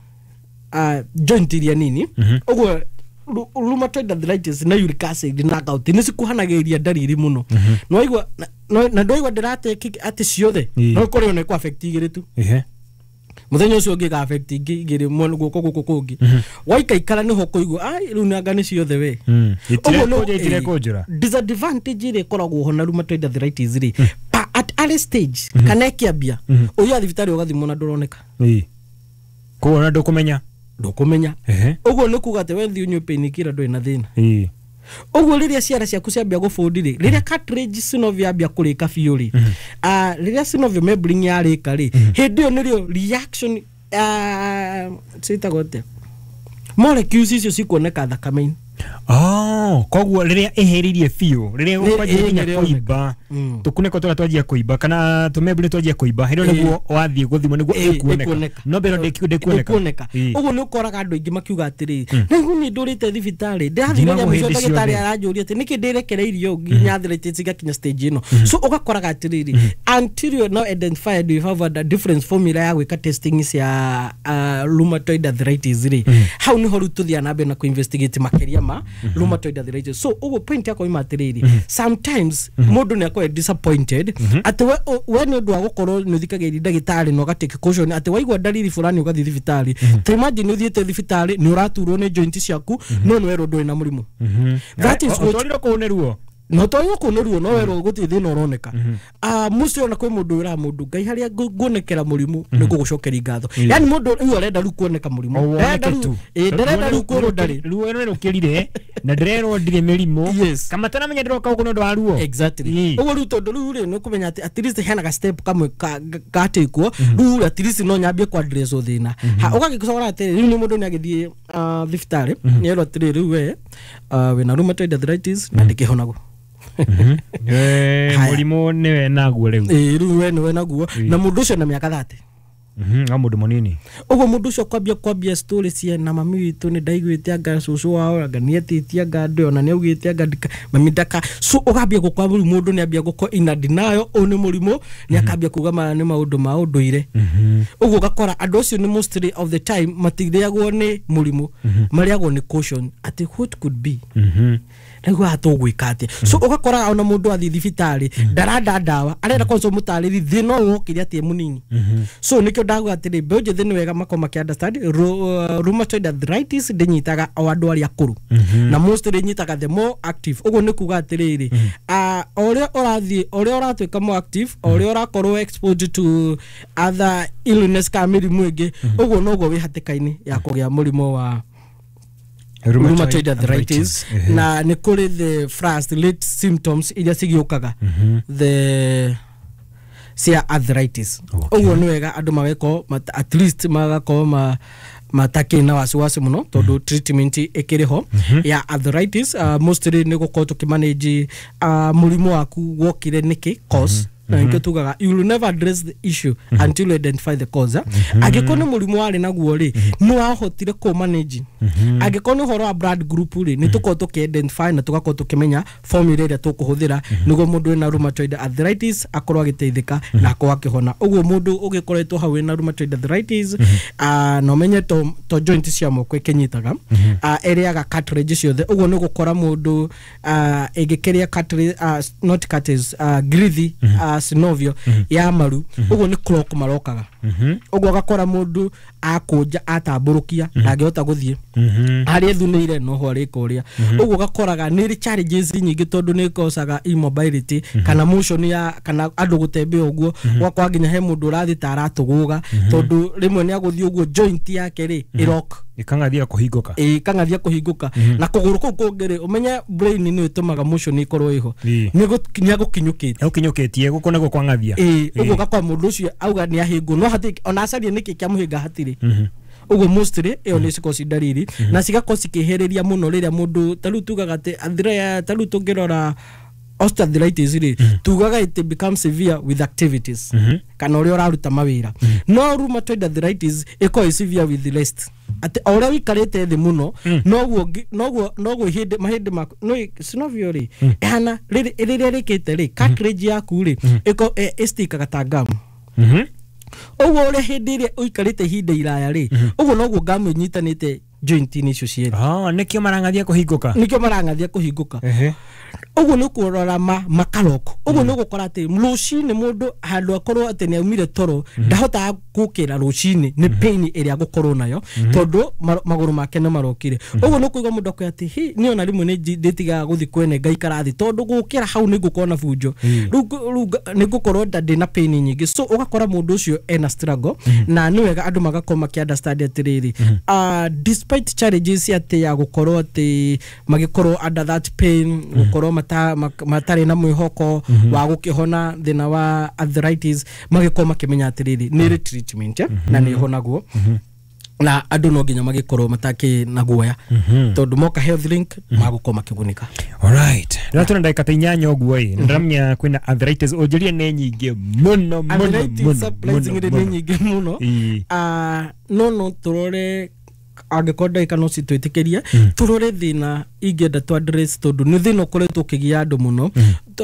uh, joint iria nini. Ũguo ru- rheumatoid arthritis na uric acid na gout nĩ cikuhanagĩrĩria ndariri mũno. Nĩwaigua na- na ndwaigua ndĩrate atĩ ciothe Ĩĩ. no ĩkorwo ĩyo nĩ kũ affect igĩrĩ tu, Ehe. muthenya ũcio ũngĩ ga affect ingĩ igĩrĩ mwena guoko gũkũ kũngĩ, waikaikara nĩho kũigua ai rĩu nanga nĩ ciothe we. Mm. Ũguo no- Itirekũnja, itirekũnjũra. ĩĩ. Disadvantage ĩrĩa ĩkoragwo ho na rheumatoid arthritis rĩ, pa at early stage kana ĩkĩambia, ũthiaga thibitarĩ ũgathimwo na ndũroneka. Ĩĩ. Koguo ona ndũkũmenya. Ndũkũmenya. Ehe. Ũguo nĩ kuga atĩ we thiĩ ũnyue painkiller, ndũrĩ na thĩna. Ĩĩ. Ũguo rĩrĩa ciara ciaku ciambia gũbũndi rĩ, rĩrĩa cartilage synovial yambia kũrĩka biũ rĩ, ah, rĩrĩa synovial membrane yarĩka rĩ, hĩndĩ ĩyo nĩrĩo reaction, ah, ciĩtagwo atĩa, molecules icio cikuoneka thakame-inĩ. Oh, koguo rĩrĩa ĩhĩrĩirie biũ, rĩrĩa Nĩ- ũkwanjia ĩĩ, nginya nĩrĩo kũimba, Mm. tũkunĩko tũrĩa twanjia kũimba kana tũmembure twanjia kũimba, hĩndĩ ĩyo Ĩĩ. nĩguo wathiĩ gũthimwo nĩguo Ĩĩ, ĩkuoneka. ĩkuoneka. No mbere ĩyo ndĩkuoneka. Ndĩkuoneka. Ĩĩ. Ũguo nĩ ũkoraga andũ aingĩ makiuga atĩrĩrĩ, na rĩu niĩ ndũrĩte thibitarĩ, ndĩrathire Thimagwo rĩa mũico, hĩndĩ ndagĩtarĩ ciothe. aranjũria atĩ nĩkĩ ndĩrekereirio nginya arthritis ĩgakinya stage ĩno. So ũgakoraga atĩrĩrĩ, until you are now identified, you have a different formula ya gwĩka testing cia uh, rheumatoid arthritis rĩ, hau nĩho rĩu tũthiaga na mbere na kũ-investigate makĩria ma rheumatoid arthritis. So ũguo point yakwa ima atĩrĩrĩ, sometimes mũndũ nĩ akorwo disappointed atĩ we, we nĩ ũndũ wa gũkorwo nĩ ũthikagĩrĩria ndagĩtarĩ na ũgatake caution atĩ waigua ndariri fulani ũgathiĩ thibitarĩ. Ta imagine ũthiĩte thibitarĩ, nĩ ũraturwo nĩ joint ciaku, no nĩ werwo ndũrĩ na mũrimũ. That is what Ũtwarirwo kũu nĩ ruo. No twarirwo kũu nĩ ruo, no werwo gũtirĩ thĩna ũroneka. Ah, mũcio ona kwĩ mũndũ wĩraga mũndũ, Ngai harĩa ngũ- nguonekera mũrimũ nĩ ngũgũcokeria ngatho. Yani mũndũ rĩu arenda rĩu kuoneka mũrimũ, O woneke ndarenda rĩu tu. ĩĩ, ndarenda rĩu kwĩrwo ndarĩ. Ruo nĩ rũkĩrire na ndĩrerwo ndirĩ mĩrimũ. Yes. Kama taramenya ndĩroka gũkũ nĩ ũndũ wa ruo. Exactly. Ĩĩ. Ũguo rĩu tondũ rĩu rĩ, nĩ ũkũmenya atĩ at least hena ga step kamwe ka- ga- gatekwo rĩu, at least no nyambie ku address thĩna. Ha ũgagĩcora atĩrĩ, rĩu nĩ mũndũ nĩ agĩthiĩ ah, thibitarĩ, nĩerwo atĩrĩ, rĩu we ah, wĩna rheumatoid arthritis na ndĩkĩhonagwo. Eh, Haya. Mũrimũ nĩwe naguo rĩu. Ĩĩ, rĩu we nĩwe naguo, na mũndũ ũcio na mĩaka thate. Mhm, o mũndũ mũnini. Ũguo mũndũ ũcio kwambia kwambia story cia na mami witũ nĩ ndaiguĩte anga cũcũ wao anga nĩetĩtie anga andũ ona nĩ augĩte anga ndika mami ndaka. So ũgambia gũkwa rĩu mũndũ nĩ ambia gũkwa ina denial, ũyũ nĩ mũrimũ, nĩ akambia kuga maya nĩ maũndũ ma ũndũire. Ũguo ũgakora andũ acio nĩ mostly of the time matirĩagwo nĩ mũrimũ, marĩagwo nĩ caution atĩ what could be, rĩu haha tũgwĩka atĩa? So ũgakora ona mũndũ athiĩ thibitarĩ ndaranda ndawa, arenda kwanza ũmũtarĩri thĩna ũyũ wokire atĩ e mũnini. So nĩkĩo ndaguga atĩrĩ, mbeũ njĩthĩ nĩ wega makorwo makĩ understand ru- uh, rheumatoid arthritis ndĩnyitaga o andũ arĩa akũrũ, na mostly ĩnyitaga the more active. Ũguo nĩ kuga atĩrĩrĩ, ah, o ũrĩa ũrathiĩ, o ũrĩa ũratuĩka more active, o ũrĩa ũrakorwo exposed to other illness kana mĩrimũ ĩngĩ, ũguo noguo wĩ hatĩka-inĩ ya kũgĩa mũrimũ wa rheumatoid arthritis. Ehe. Na nĩ kũrĩ the first late symptoms iria cigĩũkaga the cia arthritis. Okay. Ũguo nĩ wega andũ mageko mat- at least magakorwo ma matakĩ na wasiwasi mũno tondũ treatment ĩkĩrĩ ho ya arthritis. uh, mostly nĩ gũkorwo tũkĩmanage uh, mũrimũ waku wokire nĩkĩ, cause, na nĩkĩo tugaga you will never address the issue until you identify the cause, eh? Angĩkorwo nĩ mũrimũ warĩ naguo rĩ, nĩ wahotire kũ manage. Angĩkorwo nĩ ũhoro wa blood group rĩ, nĩ tũkorwo tũkĩ identify na tũgakorwo tũkĩmenya formula ĩrĩa tũkũhũthĩra nĩguo mũndũ wĩna rheumatoid arthritis akorwo agĩteithĩka na akorwo akĩhona. Ũguo mũndũ ũgĩkoretwo hau wĩna rheumatoid arthritis, ah, na ũmenye to, to joint cia moko ĩkĩnyitaga, ah, ĩrĩaga cartilage ciothe. Ũguo nĩ gũkora mũndũ ah, ĩngĩkĩrĩa cartilage, ah, not cartilage, ah, grithi, ah, synovial ya maru, ũguo nĩ clock marokaga. Ũguo ũgakora mũndũ akũnja atambũrũkia ndangĩhota gũthiĩ harĩa ethunĩire, noho arĩka ũrĩa. Ũguo ũgakoraga nĩ ĩrĩ challenges nyingĩ tondũ nĩ ĩkocaga immobility kana motion ya kana andũ gũtembea. Ũguo ũgakora nginya he mũndũ ũrathiĩ ta aratũgũga tondũ rĩmwe nĩ agũthiĩ ũguo joint yake rĩ ĩrock. Ĩkang'athia kũhingũka. Ĩĩ, kang'athia kũhingũka na kũgũrũ kũu kũngĩ rĩ, ũmenye brain nĩ ĩtũmaga motion ĩkorwo ĩho, Ĩĩ. nĩ agũkinyũkĩte. Ũkinyũkĩtie gũkũ nĩguo kwang'athia. Ĩĩ, ũguo ũgakora mũndũ ũcio auga nĩ ahĩngwo, no hatirĩ ona acarie nĩkĩ kĩamũhĩnga, hatirĩ. Ũguo mostly ĩyo nĩ cikorwo ci ndariri na cigakorwo cikĩhĩrĩria mũno rĩrĩa mũndũ ta rĩu tugaga atĩ athire ta rĩu tũngĩrora Osteoarthritis rĩ, tugaga it becomes severe with activities kana ũrĩa ũraruta mawĩra, no rheumatoid arthritis ĩkoragwo ĩ severe with rest, atĩ o ũrĩa ũikarĩte thĩ mũno noguo ngi- noguo noguo ihĩndĩ mahĩndĩ maku no synovial rĩ ĩhana rĩrĩ rĩrĩa rĩkĩte rĩ, cartilage yaku rĩ ĩko ĩ- ĩstikaga ta ngamu. Mhm. Ũguo ũrĩa hĩndĩ ĩrĩa ũikarĩte ihinda iraya rĩ, ũguo noguo ngamu ĩnyitanĩte joint-inĩ icio cierĩ. Ah, nĩkĩo marang'athia kũhingũka. Nĩkĩo marang'athia kũhingũka. Ehe. Ũguo nĩ ũkũrora ma makaroko, ũguo nĩ ũgũkora atĩ rũcinĩ mũndũ handũ akorwo atĩ nĩ aumire toro ndahotaga gũkĩra rũcinĩ nĩ pain ĩrĩa agũkorwo nayo tondũ ma- magũrũ make nĩ marokire. Ũguo nĩ ũkũigua mũndũ akwĩra atĩ hi niĩ ona rĩmwe nĩ nji- ndĩtigaga gũthiĩ kwene ngaikara thĩ tondũ gũkĩra hau nĩ ngũkorwo na bunjo rĩu ngũ- rĩu nga- nĩ ngũkorwo nda ndĩna pain nyingĩ. So ũgakora mũndũ ũcio ena struggle, na nĩ wega andũ magakorwo makĩ understand atĩrĩrĩ, ah, despite challenges atĩ ya gũkorwo atĩ magĩkorwo under that pain, gũkorwo mata, mak- matarĩ na mwĩhoko wa gũkĩhona thĩna wa arthritis, magĩkorwo makĩmenya atĩrĩrĩ nĩ ĩrĩ treatment, eh, na nĩ ĩhonagwo, na andũ no nginya magĩkorwo matakĩ na guoya tondũ moka Health Link magũkorwo makĩgunĩka. Alright. Rĩrĩa tũna ndagĩka ta inyanya ũguo ĩ, ndĩramenya kwĩna arthritis ũnjĩrie nĩ nyingĩ mũno mũno Arthritis mũno surprisingly mũno nĩ nyingĩ mũno. Ĩĩ. Ah, no no tũrore angĩkorwo ndagĩka no citwĩtĩkĩrie tũrore thĩna ingĩenda tu address tondũ nĩ thĩna ũkoretwo ũkĩgia andũ mũno.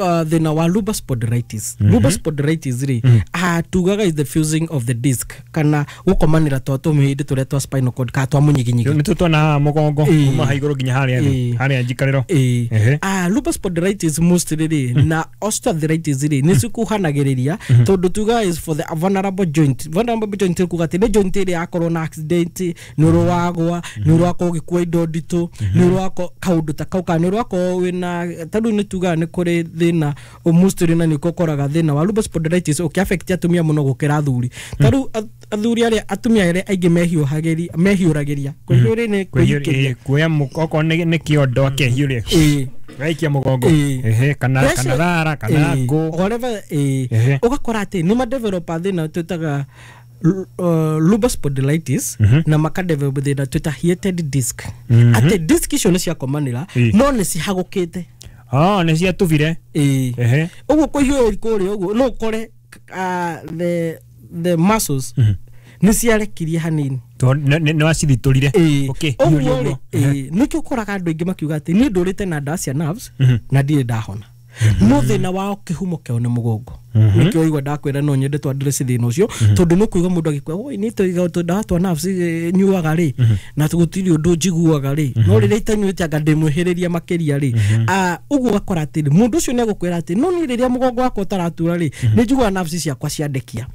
Ah, thĩna wa lumbar spondylitis. Lumbar spondylitis rĩ, ah, tugaga is the fusing of the disc kana gũkomanĩra twa tũmĩhĩndĩ tũrĩa twa spinal cord kana twa mũnyiginyigi. Nĩ tũtwana haha mũgongo Ĩĩ. kuma ha igũrũ nginya harĩa thĩ, Ĩĩ. harĩa njikarĩro. Ĩĩ. Ehe. Ah, lupus spondylitis mostly rĩ na osteoarthritis rĩ nĩ cikuhanagĩrĩria tondũ tuga is for the vulnerable joint. Vulnerable joint nĩ kuga atĩ nĩ joint ĩrĩa yakorwo na accident, nĩ ũrĩ wagwa, nĩ ũrĩ wakorwo ũgĩkua indo nditũ, nĩ ũrĩ wako kaũndũ ta kau, kana nĩ ũrĩ wakorwo wĩna ta rĩu nĩ tugaga nĩ kũrĩ thĩna mostly na nĩkuo ũkoraga thĩna wa lupus spondylitis ũkĩ-affect atumia mũno gũkĩra athuri. Ta rĩu ath- athuri arĩa atumia arĩa aingĩ mehiũhagĩria mehiũragĩria, kwĩhiũrĩ nĩ kwĩhikĩria. Kwĩhiũria- kuoya mũ- okorwo nĩ nĩ kĩondo akehiũria Ĩĩ. gaikia mũgongo. Ĩĩ. Ehe, kana Pressure- kana thara kana Ĩĩ. ngũ. Whatever, ĩĩ. Ehe. Ũgakora atĩ nĩ madevelopa thĩna twĩtaga l- uh, lupus spondylitis na makadevelop thĩna twĩta heated disc, atĩ disc icio nĩ ciakomanĩra Ĩĩ. no nĩ cihagũkĩte. Ah, nĩ ciatubire. Ĩĩ. Ehe. Ũguo kũhiũrĩria kũrĩa ũguo no ũkore uh, the the muscles nĩ ciarekirie hanini. Tondũ nĩ- nĩ nĩ wacithitũrire. Ĩĩ. Okay, ũguo hiũria rĩ ũguo. Ehe. ĩĩ, nĩkĩo ũkoraga andũ aingĩ makiuga atĩ niĩ ndũrĩte na ndawa cia nerves na ndirĩ ndahona, no thĩna wao kĩhumo kĩao nĩ mũgongo. Nĩkĩo waigua ndakwĩra no nyende tũ address thĩna ũcio tondũ nĩ kũigua mũndũ agĩkua oi nĩ tũiga tũndawa twa nerves eh, nyuaga rĩ na gũtirĩ ũndũ njiguaga rĩ, no rĩrĩa itanyuĩte anga ndĩmwĩhĩrĩria makĩria rĩ. Ah, ũguo ũgakora atĩ mũndũ ũcio nĩ egũkwĩra atĩ no niĩ rĩrĩa mũgongo wakwa ũtaratura rĩ nĩ njiguaga nerves ciakwa ciandekia.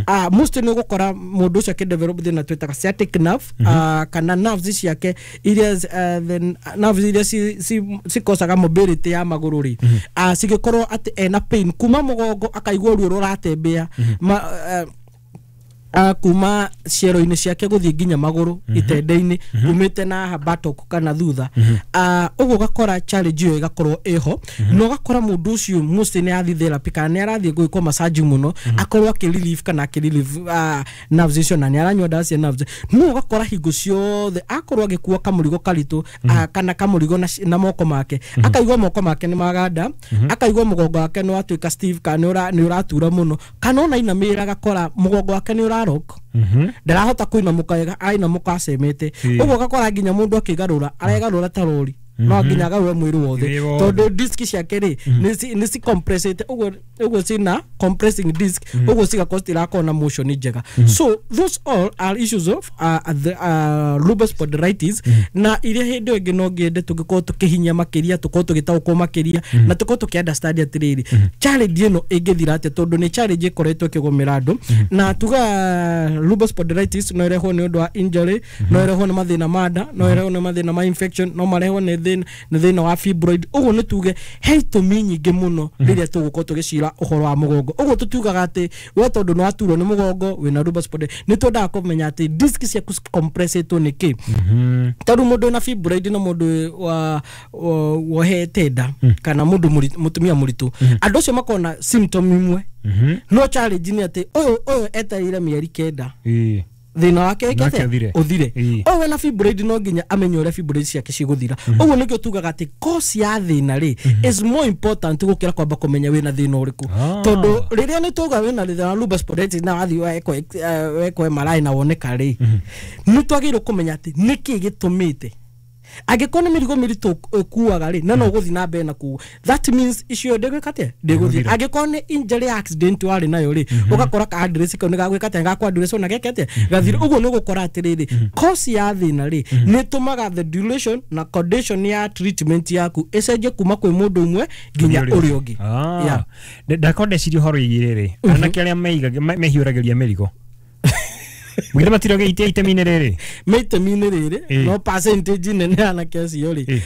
Ah, most nĩ ũgũkora mũndũ ũcio akĩdevelop thĩna twĩtaga sciatic nerve, ah, kana nerves ciake iria eh, the nerves iria ci- ci- cikosaga mobility ya magũrũ rĩ, ah, cigĩkorwo atĩ ena pain kuma mũgongo akaigua ruo rũratembea ma, eh, uh, kuma ciero-inĩ ciake gũthiĩ nginya magũrũ itende-inĩ umĩte na haha buttock kana thutha. Ah, ũguo ũgakora challenge ĩyo ĩgakorwo ĩho na ũgakora mũndũ ũcio mostly nĩ athiĩ therapy kana nĩ arathiĩ gwĩkwo massage mũno akorwo akĩ relieve kana akĩ relieve uh, nerves icio na nĩ aranyua ndawa cia nerves, no ũgakora hingo ciothe akorwo agĩkua kamũrigo karitũ ah, kana kamũrigo na, na moko make akaigua moko make nĩ maganda, akaigua mũgongo wake nĩ watuĩka stiff kana nĩ ũra- nĩ ũratura mũno, kana ona inamĩrĩra agakora mũgongo wake nĩ ũrarok, ndarahota kũinamũka wega, arainamũka acemete. Ũguo ũgakora nginya mũndũ akĩgarũra aregarũra ta rori, no nginya agarũre mwĩrĩ wothe Mwĩrĩ wothe. tondũ disc ciake rĩ nĩ ci- nĩ cicompressĩte ũguo ũguo cina compressing disc, ũguo cigakorwo citirakorwo na motion njega. So those all are issues of uh, the, uh, lupus spondylitis na iria hĩndĩ ĩyo ĩngĩ no ngĩende tũngĩkorwo tũkĩhinya makĩria, tũkorwo tũgĩtaũkwo makĩria na tũkorwo tũkĩ understand atĩrĩrĩ challenge ĩno ĩngĩthira atĩa tondũ nĩ challenge ĩkoretwo ĩkĩgũmĩra andũ. Na tuga lupus spondylitis no ĩrehwo nĩ ũndũ wa injury, no ĩrehwo nĩ mathĩna ma nda, no ĩrehwo nĩ mathĩna ma infection, no marehwo nĩ thĩna nĩ thĩna wa fibroid. Ũguo nĩ tuge he itũmi nyingĩ mũno rĩrĩa tũgũkorwo tũgĩcira ũhoro wa mũgongo. Ũguo tũtiugaga atĩ we tondũ nĩ waturwo nĩ mũgongo wĩna lupus spondylitis, nĩ twendaga kũmenya atĩ disc ciaku compressĩtwo nĩ kĩ. Tarĩu mũndũ wĩna fibroid na mũndũ wa wa- wohete nda kana mũndũ mũritũ- mũtumia mũritũ, andũ acio makoragwo na symptom imwe, no challenge nĩ atĩ ũyũ ũyũ etereire mĩeri kenda Ĩĩ. Thĩna wake ĩkĩte ũthire. O wena fibroid no nginya amenye ũrĩa fibroid ciake cigũthira. Ũguo nĩkĩo tugaga atĩ cause ya thĩna rĩ is more important gũkĩra kwamba kũmenya wĩna thĩna ũrĩkũ. Tondũ rĩrĩa nĩ tuga wĩna thĩna wa lupus spondylitis na wathiĩ wekwo wekwo M R I na woneka rĩ, nĩ twagĩrĩirwo kũmenya atĩ nĩkĩ gĩtũmĩte. Angĩkorwo nĩ mĩrigo mĩritũ ũkuaga rĩ, na no ũgũthiĩ na mbere na kuo, that means icio ndĩgwĩka atĩa, ndĩgũthiĩ. Angĩkorwo nĩ injury accident warĩ nayo rĩ, ũgakora ka address kau nĩ gagwĩka atĩa, gakwa address ona geke atĩa, gathire. Ũguo nĩ ũgũkora atĩrĩrĩ, cause ya thĩna rĩ nĩ ĩtũmaga the duration na condition ya treatment yaku ĩcenjie kuma kwĩ mũndũ ũmwe nginya ũrĩa ũngĩ. Yeah. Ndakorwo ndeciria ũhoro wĩgiĩ rĩrĩ, anake arĩa mehiũragĩria mĩrigo Mwĩrĩ matiroge ite itemi-inĩ rĩrĩ me itemi-inĩ rĩrĩ no percentage nene anake acio rĩ,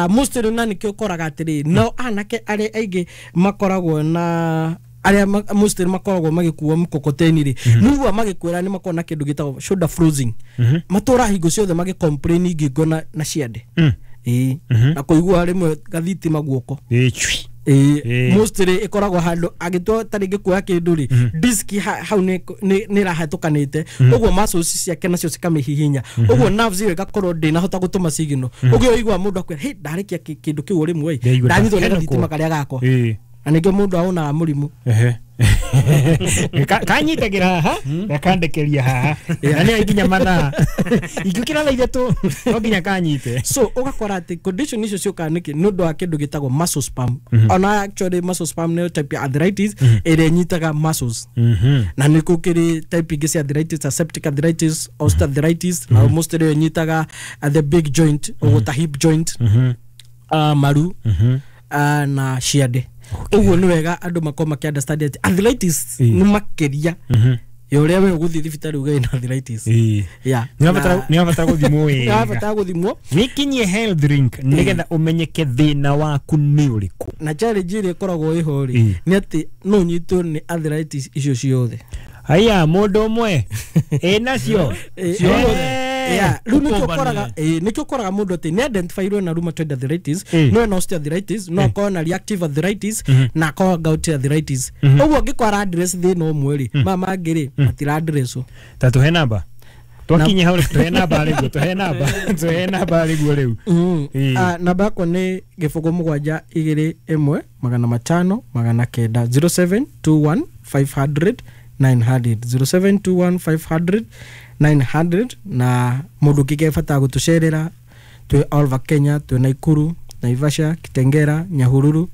mostly na nĩkĩo ũkoraga atĩrĩ no anake arĩa aingĩ makoragwo na arĩa mostly makoragwo magĩkua mkokoteni rĩ, nĩguo magĩkwĩra nĩ makoragwo na kĩndũ gĩtagwo shoulder freezing, matũra hingo ciothe magĩ complain ngingo na na ciande, ĩĩ, na kũigua rĩmwe gathitima guoko, ĩĩ, mostly ikoragwo handu agitwo ta ringi kuoya kindu ri disk hau ni ni rahatukanite uguo muscles ciake nacio cikamihihinya uguo nerves iyo igakorwo ndinahota gutuma signal uguo igua mundu akwira hey ndarikia kindu kiu rimwe ndanyitwo ni gathitima karia gakwa na ningio mundu aonaga murimu ehe kanyitagira haha gakandekeria haha na nĩ nginya mathaa ingĩũkĩra thaa ithatũ no nginya kanyite. So ũgakora atĩ condition icio ciũkaga nĩkĩ nĩ ũndũ wa kĩndũ gĩtagwo muscle spasm. Ona actually muscle spasm nĩyo type ya arthritis ĩrĩa ĩnyitaga muscles, na nĩ gũkĩrĩ type ingĩ cia arthritis ta septic arthritis, osteoarthritis, na mostly ĩyo ĩnyitaga the big joint ũguo ta hip joint, maru na ciande. Ũguo nĩ wega andũ makorwo makĩ understand atĩ arthritis nĩ makĩria ya ũrĩa we ũgũthiĩ thibitarĩ uge wĩna arthritis. Yeah. Nĩ wabatara gũthimwo wega. Nĩ wabatara gũthimwo. Wĩkinyie health link nĩgetha ũmenyeke thĩna waku nĩ ũrĩkũ. Na challenge ĩrĩa ĩkoragwo ĩho rĩ nĩ atĩ no ũnyitwo nĩ arthritis icio ciothe. Haya mũndũ ũmwe ĩnacio ciothe. Yeah, rĩu nĩkĩo ũkoraga eh nĩkĩo ũkoraga mũndũ atĩ nĩ identifyirwo na rheumatoid arthritis, no ena osteoarthritis, no akorwo na reactive arthritis na akorwo gout arthritis. Ũguo angĩkorwo ara address thĩna ũmwe rĩ, maya mangĩ rĩ matira address. Ta tũhe namba. Twakinye hau tũhe namba rĩguo, tũhe namba, tũhe namba rĩguo rĩu. Ah, namba yakwa nĩ gĩbũgũ mũgwanja igĩrĩ ĩmwe magana matano magana kenda zero seven two one five hundred nine hundred zero seven two one five hundred nine hundred. Na mundu kike bata gutucerera twi all over Kenya, twi Nakuru, Naivasha, Kitengera, Nyahururu,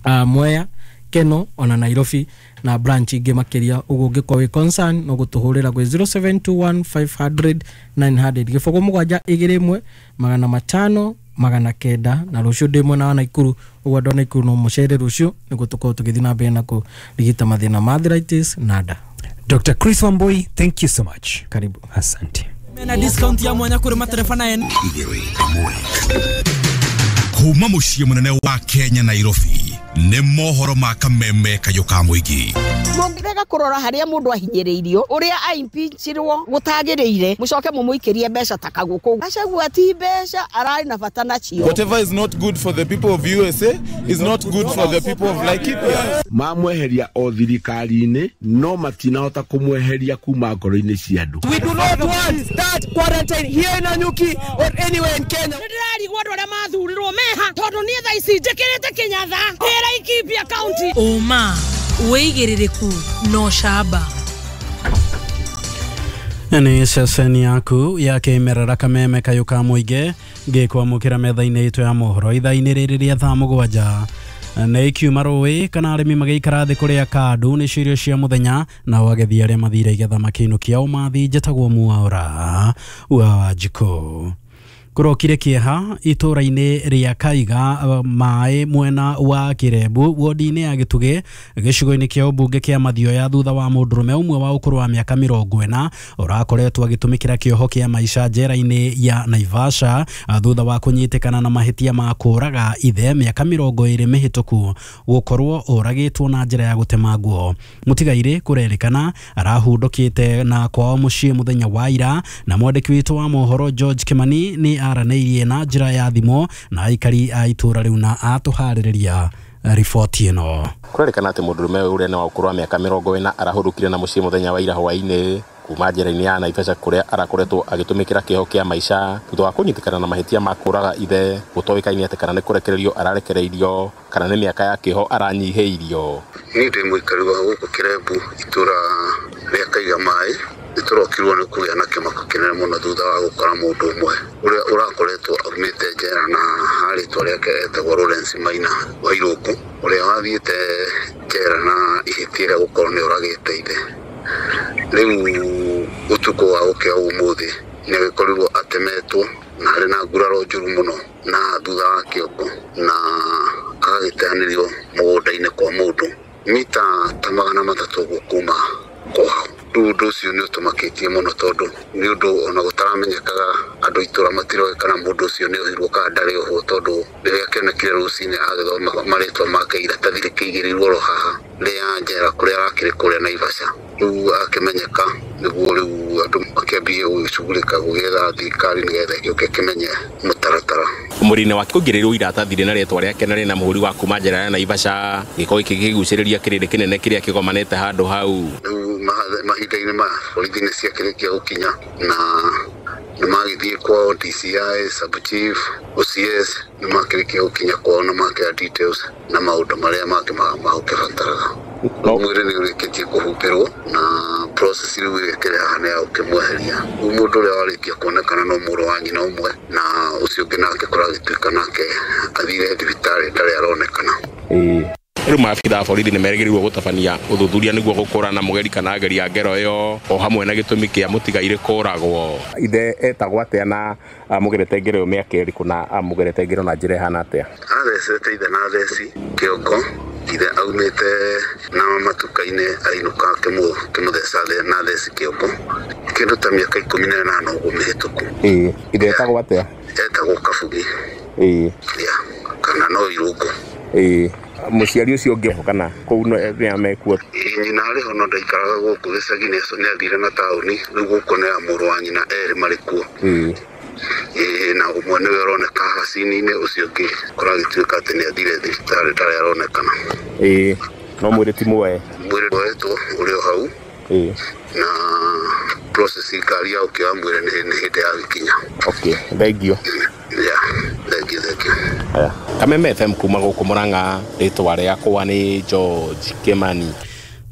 uh, Mwea, Keno ona Nairobi na branch ingi makiria. Uguo ngikwo wi concern no gutuhurira gwi zero seven two one five hundred nine hundred gĩbũgũ mũgwanja igĩrĩ ĩmwe magana matano magana kenda. Na rũciũ ndĩ mwena wa Nakuru, ũguo andũ a Nakuru no mũcere rũciũ nĩguo tũkorwo tũgĩthiĩ na mbere na kũrigita mathĩna ma arthritis na nda. Doctor Chris Wambui, thank you so much. Karibu. Asante. Mena discount ya mwanya kuri materefana en. Kuma muciĩ mũnene wa Kenya Nairobi nĩ mohoro ma kameme kayũ ka mũingĩ. Mũngĩrega kũrora harĩa mũndũ ahinyĩrĩirio ũrĩa aimpeachirwo gũtagĩrĩire mũcoke mũmũikĩrie mbeca ta kagũkũ. Gachagua ti mbeca ararĩ na bata nacio. Whatever is not good for the people of U S A is not good for the people of Laikipia. Mamweheria o thirikari-inĩ no matinahota kũmweheria kuma ngoro-inĩ cia andũ. We do not want that quarantine here in Nanyuki or anywhere in Kenya. Nĩndĩrarigwo andũ arĩa mathurirwo meha tondũ niĩ thaa ici njĩkĩrĩte Kĩnyatha ndĩ Laikipia County. Ũma wĩigĩrĩrĩku no camba. Nĩ ceceni yaku ya kĩmerera kameme kayũ ka mũingĩ ngĩkwamũkĩra metha-inĩ itũ ya mohoro ithaa-inĩ rĩrĩ rĩa thaa mũgwanja. Nĩ ikiuma rũĩ kana arĩmi magĩikara thĩ kũrĩa kandu nĩ irio cia mũthenya nao agethi arĩa mathire igetha makĩinũkia ũmathi. Njĩtagwo Mwaura wa Wanjikũ. Kũrokire kĩeha itũra-inĩ rĩa Kaiga maĩ mwena wa Kĩrembu wodi-inĩ ya Gĩtugĩ gĩcigo-inĩ kĩa ũmbunge kĩa Mathioya thutha wa mũndũrũme ũmwe wa ũkũrũ wa mĩaka mĩrongo ĩna ũrakoretwo agĩtũmĩkĩra kĩoho kĩa maica njera-inĩ ya Naivasha thutha wa kũnyitĩkana na mahĩtia ma kũũraga ithe mĩaka mĩrongo ĩrĩ mĩhĩtũku gũkorwo ũragĩtwo na njĩra ya gũtemangwo. Mũtigairĩ kũrerĩkana arahundũkĩte na kwao mũciĩ mũthenya wa ira na mwandĩki witũ wa mohoro George Kimani nĩ aranĩirie na njĩra ya thimũ na aikari a itũra rĩu na atũharĩrĩria riboti ĩno. Kũrerĩkana atĩ mũndũrũme ũrĩa nĩ wa ũkũrũ wa mĩaka mĩrongo ĩna arahũrũkire na mũciĩ mũthenya wa ira hwaĩ-inĩ Kuma njera-inĩ ya Naivasha kũrĩa arakoretwo agĩtũmĩkĩra kĩoho kĩa maica thutha wa kũnyitĩkana na mahĩtia ma kũraga ithe. Gũtoĩkaine atĩ kana nĩ kũrekererio ararekereirio kana nĩ mĩaka ya kĩoho aranyihĩirio. Niĩ ndĩ mũikari wa gũkũ Kĩrembu, itũra rĩa Kaiga Maĩ. Nĩtũrokirwo nĩ kũgĩa na kĩmako kĩnene mũno thutha wa gũkora mũndũ ũmwe ũrĩa ũrakoretwo aumĩte njera na rĩtwa rĩake etagwo Lawrence Maina wa Irũngũ, ũrĩa wathiĩte njera na ihĩtia rĩa gũkorwo nĩ oragĩte ithe. Rĩu ũtukũ wa gũkĩa ũmũthĩ nĩ agĩkorirwo atemetwo na arĩ na nguraro njũru mũno na thutha wa kĩongo, na agagĩteanĩrio mũgũnda-inĩ kwa mũndũ mita ta magana matatũ ũguo kuma kwao. Rĩu ũndũ ũcio nĩ ũtũmakĩtie mũno tondũ nĩ ũndũ ona gũtaramenyekaga, andũ itũra matiroĩ kana mũndũ ũcio nĩ ohirwo kana ndarĩ ohwo, tondũ rĩrĩa kĩonekire rũcinĩ agĩthoma marĩtwa make iratathi rĩkĩigĩrĩirwo oro haha rĩa njera kũrĩa arakĩrĩ kũrĩa Naivasha. Rĩu akĩmenyeka nĩguo rĩu andũ makĩambie gũgĩcugurĩka gũgĩetha thirikari nĩgetha ĩgĩũke ĩkĩmenye mũtaratara. Mũrĩ-inĩ wake kũingĩrĩrwo iratathi rĩna rĩtwa rĩake na rĩna mũhũri wa kuma njera ya Naivasha. Gĩko gĩkĩ gĩkĩgucĩrĩria kĩrĩndĩ kĩnene kĩrĩa kĩgomanĩte handũ hau. Rĩu mahinda-inĩ maya borithi nĩ ciakĩrĩkia gũkinya na nĩ magĩthiĩ kwao D C I, sub chief, O C S nĩ makĩrĩkia gũkinya kwao na makĩoya details na maũndũ marĩa mangĩ magũkĩbataraga. Mwĩrĩ nĩ ũrĩkĩtie kũhumbĩrwo na process rĩu ĩkĩrĩ haha nĩ ya gũkĩmweheria. Rĩu mũndũ ũrĩa warĩkia kuonekana no mũrũ wa nyina ũmwe, na ũcio ũngĩ nake kũragĩtuĩka nake athire thibitarĩ ndarĩ aronekana. Rĩu maabitha a borithi nĩ merĩgĩrĩirwo gũtabania ũthuthuria nĩguo gũkũrana mũgeri kana ageri a ngero ĩyo o hamwe na gĩtũmi kĩa mũtigairĩ kũragwo. Ithe etagwo atĩa na amũgerete ngero ĩyo mĩaka ĩrĩkũ na amũgerete ngero na njĩra ĩhana atĩa? Athecete ithe na theci kĩongo, ithe aumĩte na matuka-inĩ ainũka akĩmũtheca na theci kĩongo kĩndũ ta mĩaka ikũmi na ĩnana ũguo mĩhĩtũku. Ĩĩ, ithe etagwo atĩa? Etagwo Kabugi. Ĩĩ. Kana no Irũngũ. Ĩĩ. Mũciari ũcio ũngĩ kana kũu nĩ mekuo? Nyina arĩ ho no ndaikaraga gũkũ gĩcagi, nĩ athire na taũni. Rĩu gũkũ nĩ mũrũ wa nyina erĩ marĩ kuo. Ĩĩ. Ĩĩ, na ũmwe nĩwe ũroneka haha cini-inĩ, ũcio ũngĩ kũragĩtuĩka atĩ nĩ athire thibitarĩ ndarĩ aronekana. Ĩĩ, no mwĩrĩ ti muoe? Mwĩrĩ woetwo ũrĩ o hau. Ĩĩ. Na process ngari ya ũkĩoya mwĩrĩ nĩ hĩndĩ ya gĩkinya. Okay, thank you. Yeah, thank you, thank you. Aya, Kameme F M kuma gũkũ Murang'a, rĩtwa rĩakwa nĩ George Kimani.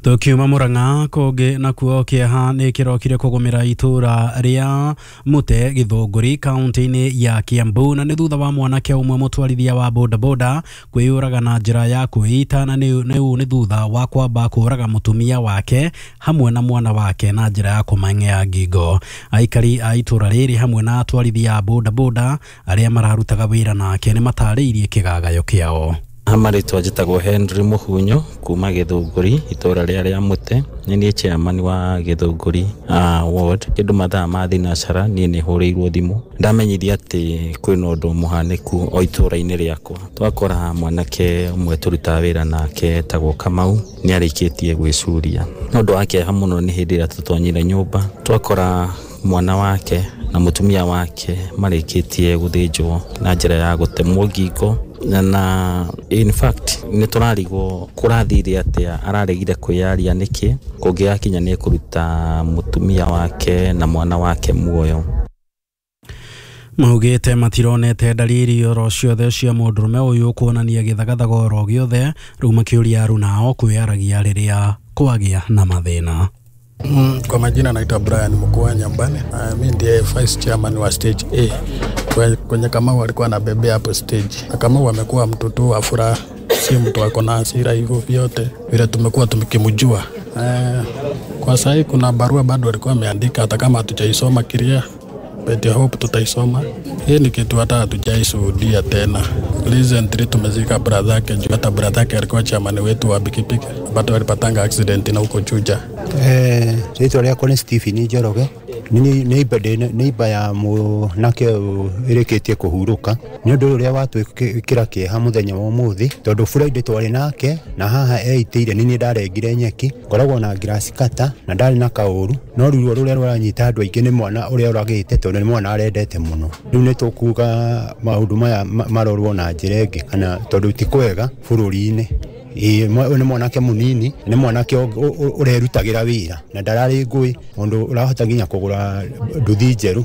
Tukiuma Murang'a kũngĩ nakuo kĩeha nĩ kĩrokire kũgũmĩra itũra rĩa Mũte Gĩthũngũri kaunti-inĩ ya Kiambu, na nĩ thutha wa mwanake ũmwe mũtwarithia wa bodaboda kwĩyũraga na njĩra ya kwĩita, na nĩ nĩ thutha wa kwamba kũraga mũtumia wake hamwe na mwana wake na njĩra ya kũmang'ea ngingo. Aikari a itũra rĩrĩ hamwe na atwarithia a bodaboda arĩa mararutaga wĩra nake nĩ matarĩirie kĩgagayo kĩao. Marĩtwa njĩtagwo Henry Mũhunyo kuma Gĩthũngũri itũra rĩa rĩa Mũte. Nĩ niĩ chairman wa Gĩthũngũri uh, ward. Kĩndũ mathaa ma thinacara niĩ nĩ hũrĩirwo thimũ ndamenyithia atĩ kwĩna ũndũ mũhanĩku o itũra-inĩ rĩakwa. Twakora mwanake ũmwe tũrutaga wĩra nake etagwo Kamau nĩ arĩkĩtie gwĩcuria. Nĩ ũndũ wa kĩeha mũno nĩ hĩndĩ ĩrĩa tũtonyire nyũmba twakora mwana wake na mũtumia wake marĩkĩtie gũthĩnjwo na njĩra ya gũtemwo ngingo. Na in fact nĩ tũrarigwo kũrathire atĩa, araregire kwĩyaria nĩkĩ, kũngĩgakinya nĩ kũruta mũtumia wake na mwana wake muoyo. Maugĩte matironete dalili oro ciothe cia mũndũrũme ũyũ kuonania gĩthagathago oro gĩothe, rĩu makĩũria arunao kwĩyaragia rĩrĩa kwagĩa na mathĩna. Mm, kwa majina naitwa Brian Mkua Nyambane. Uh, mimi ndiye vice chairman wa stage A. Kwenye Kamau alikuwa anabebea hapo stage. Na Kamau amekuwa mtu tu wa furaha, si mtu ako na hasira hivyo vyote vile tumekuwa tumekimjua. Uh, kwa sasa kuna barua bado alikuwa ameandika, hata kama hatujaisoma kiria, but I hope tutaisoma. Hii ni kitu hata hatujaishuhudia tena. Recently tumezika brother yake, juu hata brother yake alikuwa chairman wetu wa pikipiki, but walipatanga accident na huko Juja. Eh, rĩtwa rĩakwa nĩ Stephen Njoroge. Nĩ neighbor ya mwanake ĩrĩkĩtie kũhurũka. Nĩ ũndũ ũrĩa watwĩkĩra kĩeha mũthenya wa ũmũthĩ, tondũ Friday twarĩ nake na haha eitĩire nĩ niĩ ndarengire nyeki, ngoragwo na grass cutter na ndarĩ na kaũru, no ruo rũrĩa rũranyita andũ aingĩ nĩ mwana ũrĩa ũragĩte, tondũ nĩ mwana arendete mũno. Rĩu nĩ tũkuga maũndũ maya marorwo na njĩra ĩngĩ, kana tondũ ti kwega bũrũri-inĩ. Ĩĩ, nĩ mwanake mũnini, nĩ mwanake ũrerutagĩra wĩra na ndararĩ ngũĩ, mũndũ ũrahota nginya kũgũra nduthi njerũ.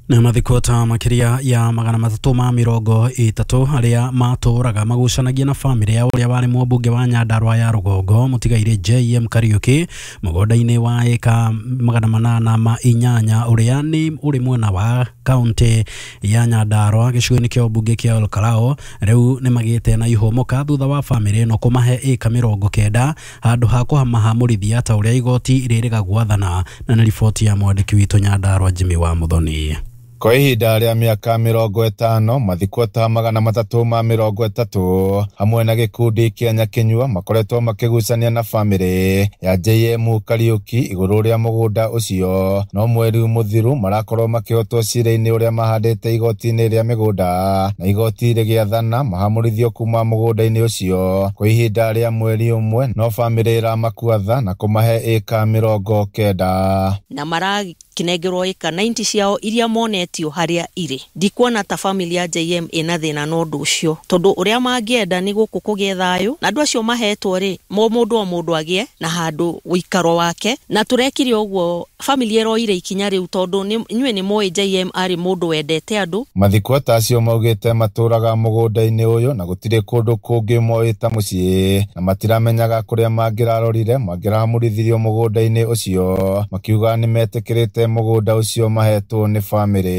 Na mathiko ta makiria ya magana matatu ma mirongo itatu aria matũraga magucanagia na famĩlĩ ya ũrĩa warĩ mũmbunge wa Nyandarua ya rũgongo mũtigairĩ J M Kariuki mũgũnda-inĩ wa ĩka magana manana ma inyanya ũrĩa nĩ ũrĩ mwena wa kaunti ya Nyandarua gĩcigo-inĩ kĩa ũmbunge kĩa Olkalou. Rĩu nĩ magĩte na ihũmũka thutha wa famĩlĩ ĩno kũmahe ĩka mĩrongo kenda handũ ha kũmahamũrithia ta ũrĩa igoti rĩrĩga gwathana. Na nĩ riboti ya mwandĩki witũ Nyandarua Jimmy wa Muthoni. Kwa ihinda rĩa mĩaka mĩrongo ĩtano mathiko ta magana matatũ ma mĩrongo ĩtatũ hamwe na gĩkundi kĩa Nyakinyua makoretwo makĩgucania na famĩlĩ ya J M Kariuki igũrũ rĩa mũgũnda ũcio. No mweri mũthiru marakorwo makĩhotwo cira-inĩ ũrĩa mahandĩte igoti-inĩ rĩa mĩgũnda na igoti rĩgĩathana mahamũrithio kuma mũgũnda-inĩ ũcio kwa ihinda rĩa mweri ũmwe, no famĩlĩ ĩramakuatha na kũmahe ĩka mĩrongo kenda na marakinengerwo ĩka ninety ciao iria monetio haria iri. Ndikuona ta family ya J M ina thina na undu ucio tondu uria mangienda ni guku kugie thayu na andu acio mahetwo ri mo mundu o mundu agie na handu uikaro wake, na turekire uguo family eroire ikinya riu tondu inyue ni moi J M ari mundu wendete andu. Mathiko ta acio maugite maturaga mugunda-ini uyu na gutire kundu kungi moĩ ta muciĩ na matiramenyaga kuria mangirarorire mangirahamurithirio mugunda-ini ucio, makiuga ni metikirite mugunda ucio mahetwo ni family.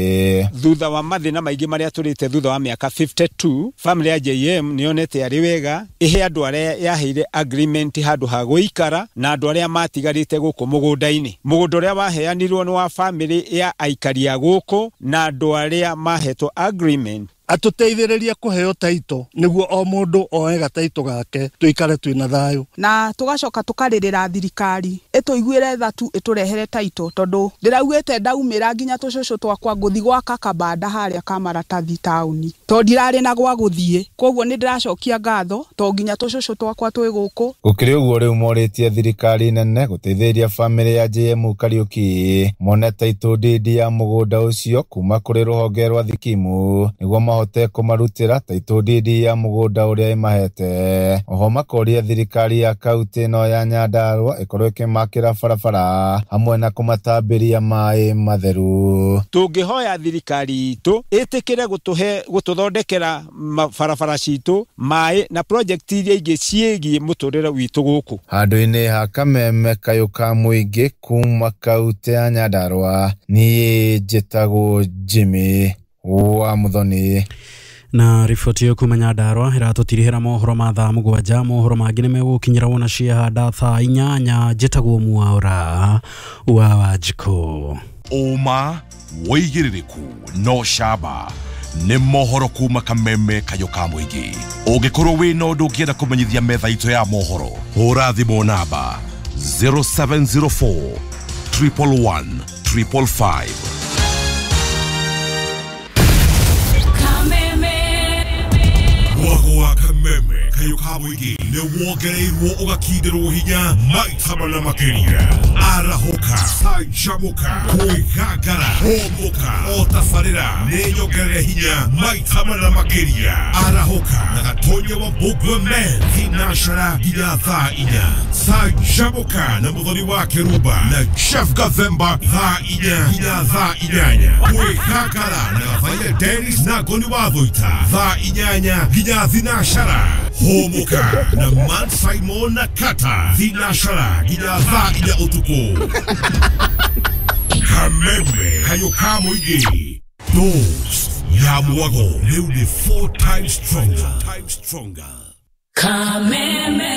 Thutha wa mathina maingi maria turite thutha wa miaka fifty-two family ya J M nionete ari wega ihe andu aria yaheire agreement handu ha guikara na andu aria matigarite guku mugunda-ini. Mugunda uria waheanirwo ni wa family ya aikari a guku na andu aria mahetwo agreement atuteithĩrĩrie kũheo taito nĩguo o mũndũ oe gataito gake tuikare twĩna thayũ. Na tugacoka tukarĩrĩra thirikari ĩtũiguĩre tha tu ĩtũrehere taito tondu ndĩraugĩte ndaumĩra nginya tũcũcũ twakwa ngũthi gwaka kabanda harĩa ka maratathi taũni tondu ndirarĩ na gwa gũthiĩ, koguo nĩ ndĩracokia ngatho to nginya tũcũcũ twakwa twĩ gũkũ. Gũkĩrĩ ũguo rĩu morĩtie thirikari nene gũteithĩrĩria famĩlĩ ya J M Kariuki mone taito ndindi ya mũgũnda ũcio kuma kũrĩ rũhonge rwa Thikimu nĩguo mahote kũmarutĩra taito ndindi ya mũgũnda ũrĩa ĩmahete. Oho makoria thirikari ya kaunti ĩno ya Nyandarua ĩkorwo ĩkĩmakĩra barabara hamwe na kũmatambĩria maĩ matheru. Tũngĩhoya thirikari itũ ĩtĩkĩre gũtũhe gũtũthondekera barabara citũ maĩ na project iria ingĩ ciĩgiĩ mũtũrĩre witũ gũkũ. Handũ-inĩ ha Kameme kayũ ka mũingĩ kuma kaunti ya Nyandarua, niĩ njĩtagwo Jimmy wa Muthoni. Na riboti ĩyo kuma Nyandarua ĩratũtirihĩra mohoro ma thaa mũgwanja. Mohoro mangĩ nĩmegũkinyĩra wona ciahanda thaa inyanya. Njĩtagwo Mwaura wa Wanjikũ. Ũma wĩigĩrĩrĩku no camba nĩ mohoro kuma Kameme kayũ ka mũingĩ. Ũngĩkorwo wĩna ũndũ ũngĩenda kũmenyithia metha itũ ya mohoro, hũra thimũ namba zero seven zero four triple one triple five. Mwago wa Kameme kayũ ka mũingĩ nĩ wongereirwo ũgakindirwo hinya maita mana makĩria. Arahũka, canjamũka, kwĩgangara, hũmũka, o tabarĩra nĩ nyongerere hinya maita mana makĩria. Arahũka na Gatonya wa Mbũgua Men thinacara nginya thaa inya. Canjamũka na Mũthoni wa Kĩrumba na Chef Gathemba thaa inya nginya thaa inyanya. Kwĩgangara na Gathaia Dennis na Ngoni wa Thũita thaa inyanya nginya thinacara. Hũmũka na Man Simon na Kata thinacara nginya thaa inya ũtukũ. Kameme kayũ ka mũingĩ dose ya mwago rĩu nĩ four times stronger. Kameme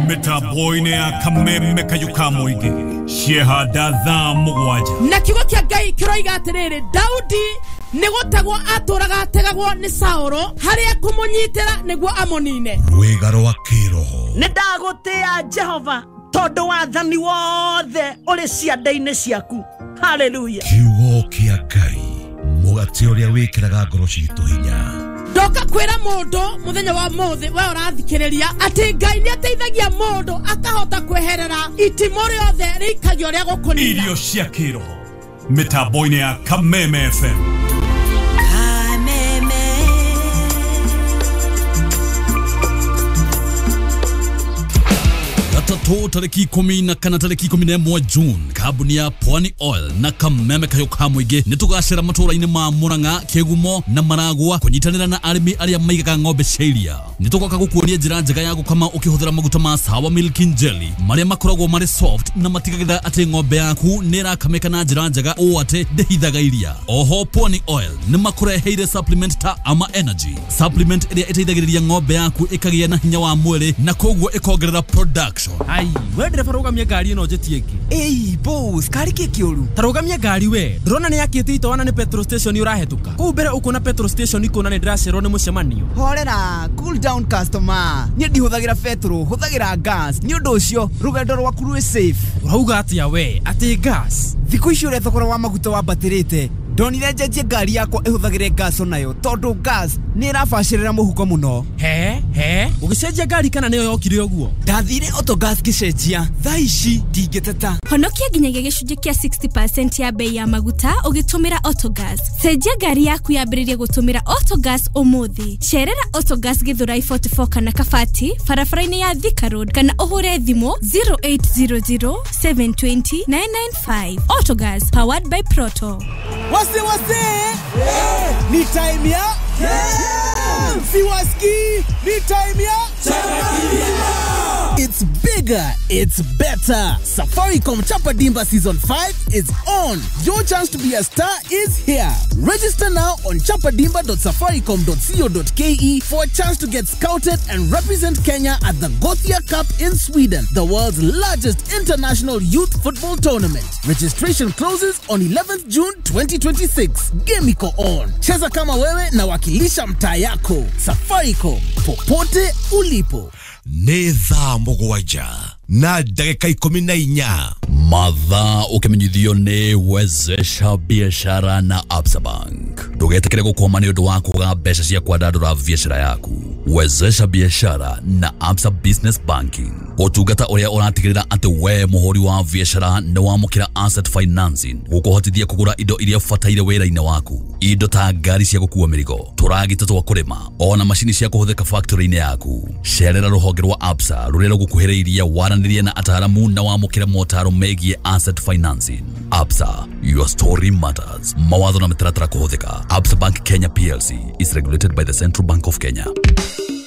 mĩtambo-inĩ ya Kameme kayũ ka mũingĩ ciehanda thaa mũgwanja. Na kiugo kĩa Ngai kĩroiga atĩrĩrĩ, Daudi nĩ gũtegwo atũraga ategagwo nĩ Saũlũ harĩa kũmũnyitĩra nĩguo amũnine. Rwĩga rwa kĩroho. Nĩ ndagũtĩa Jehova tondu wathani wothe ũrĩ ciande-inĩ ciaku. Hallelujah. Kiugo kĩa Ngai mũgate ũrĩa wĩkĩraga ngoro citũ hinya. Ndoka kwĩra mũndũ mũthenya wa mũthĩ we ũrathikĩrĩria atĩ Ngai nĩ ateithagia mũndũ akahota kweherera itimũ rĩothe rĩikagio rĩa gũkũnina. Irio cia kĩroho mĩtambo-inĩ ya Kameme F M. Kameme. Jumatatũ tarĩki ikũmi na kana tarĩki ikũmi na ĩmwe June, kambuni ya Pwani Oil na Kameme Kayo ka Mũingĩ nĩ tũgacera matũũra-inĩ ma Murang'a, Kĩgumo na Maragwa kũnyitanĩra na arĩmi arĩa maigaga ng'ombe cia iria. Nĩ tũgoka gũkuonia njĩra njega ya gũkama ũkĩhũthĩra maguta ma Sawa Milk and Jelly marĩa makoragwo marĩ soft na matigagĩrĩra atĩ ng'ombe yaku nĩ ĩrakamĩka na njĩra njega ũũ atĩ ndĩhithaga iria. Oho Pwani Oil nĩ makũreheire supplement ta Ama Energy, supplement ĩrĩa ĩteithagĩrĩria ng'ombe yaku ĩkagĩa na hinya wa mwĩrĩ na koguo ĩkongerera production. Ai, we ndereba rũgamia ngari ĩno njĩtie ĩngĩ. Ĩi boss, kari kĩ kĩũru? Ta rũgamia ngari we, ndĩrona nĩ yakĩte itoana nĩ petrol station ũrahĩtũka. Kũu mbere ũkuona petrol station ikuona nĩ ndĩracerwo nĩ mũcemanio. Horera, cool down customer. Niĩ ndihũthagĩra petrol, hũthagĩra gas. Nĩ ũndũ ũcio rũgendo rwaku rwĩ safe. Ũrauga atĩa we, atĩ gas? Thikũ ici ũrĩa thogora wa maguta wambatĩrĩte, ndonire njenjie ngari yakwa ĩhũthagĩre gas onayo tondũ gas nĩ ĩrabacĩrĩra mũhuko mũno. He he, ũgĩcenjia ngari kana nĩyo yokire ũguo? Ndathire Autogas ngĩcenjia, thaa ici ndingĩteta. Honokia nginyagia gĩcunjĩ kĩa sixty percent ya bei ya maguta ũgĩtũmĩra Autogas. Cenjia ngari yaku yambĩrĩrie gũtũmĩra Autogas ũmũthĩ. Cerera Autogas Githurai forty-four kana Kabati barabara-inĩ ya Thika Road kana ũhũre thimũ zero eight zero zero seven two zero nine nine five. Autogas, powered by Proto. Wase wase, yeah. Ni time ya yeah. Siwaski, ni time ya yeah. It's bigger, it's better. Safaricom Chapa Dimba Season five is on. Your chance to be a star is here. Register now on chapadimba dot safaricom dot co dot k e for a chance to get scouted and represent Kenya at the Gothia Cup in Sweden, the world's largest international youth football tournament. Registration closes on eleventh June twenty twenty-six. Game iko on. Cheza kama wewe na wakilisha mtaa yako. Safaricom, popote ulipo. Nĩ thaa mũgwanja na ndagĩka ikũmi na inya. Mathaa ũkĩmenyithio nĩ Wezesha Biashara na Absa Bank. Ndũgetĩkĩre gũkwama nĩ ũndũ wa kwaga mbeca cia kwandandũra biashara yaku. Wezesha Biashara na Absa Business Banking, ũtungata ũrĩa ũratigĩrĩra atĩ we mũhũri wa biashara nĩ wamũkĩra asset financing gũkũhotithia kũgũra indo iria ũbataire wĩra-inĩ waku, indo ta ngari cia gũkua mĩrigo, tũragita twa kũrĩma, ona macini cia kũhũthĩka factory-inĩ yaku. Cerera rũhonge rwa Absa rũrĩa rũgũkuhĩrĩirie waranĩrie na ataaramu na wamũkĩre motaro megiĩ asset financing. Absa, your story matters. Mawatho na mĩtaratara kũhũthĩka. Absa Bank Kenya P L C is regulated by the Central Bank of Kenya.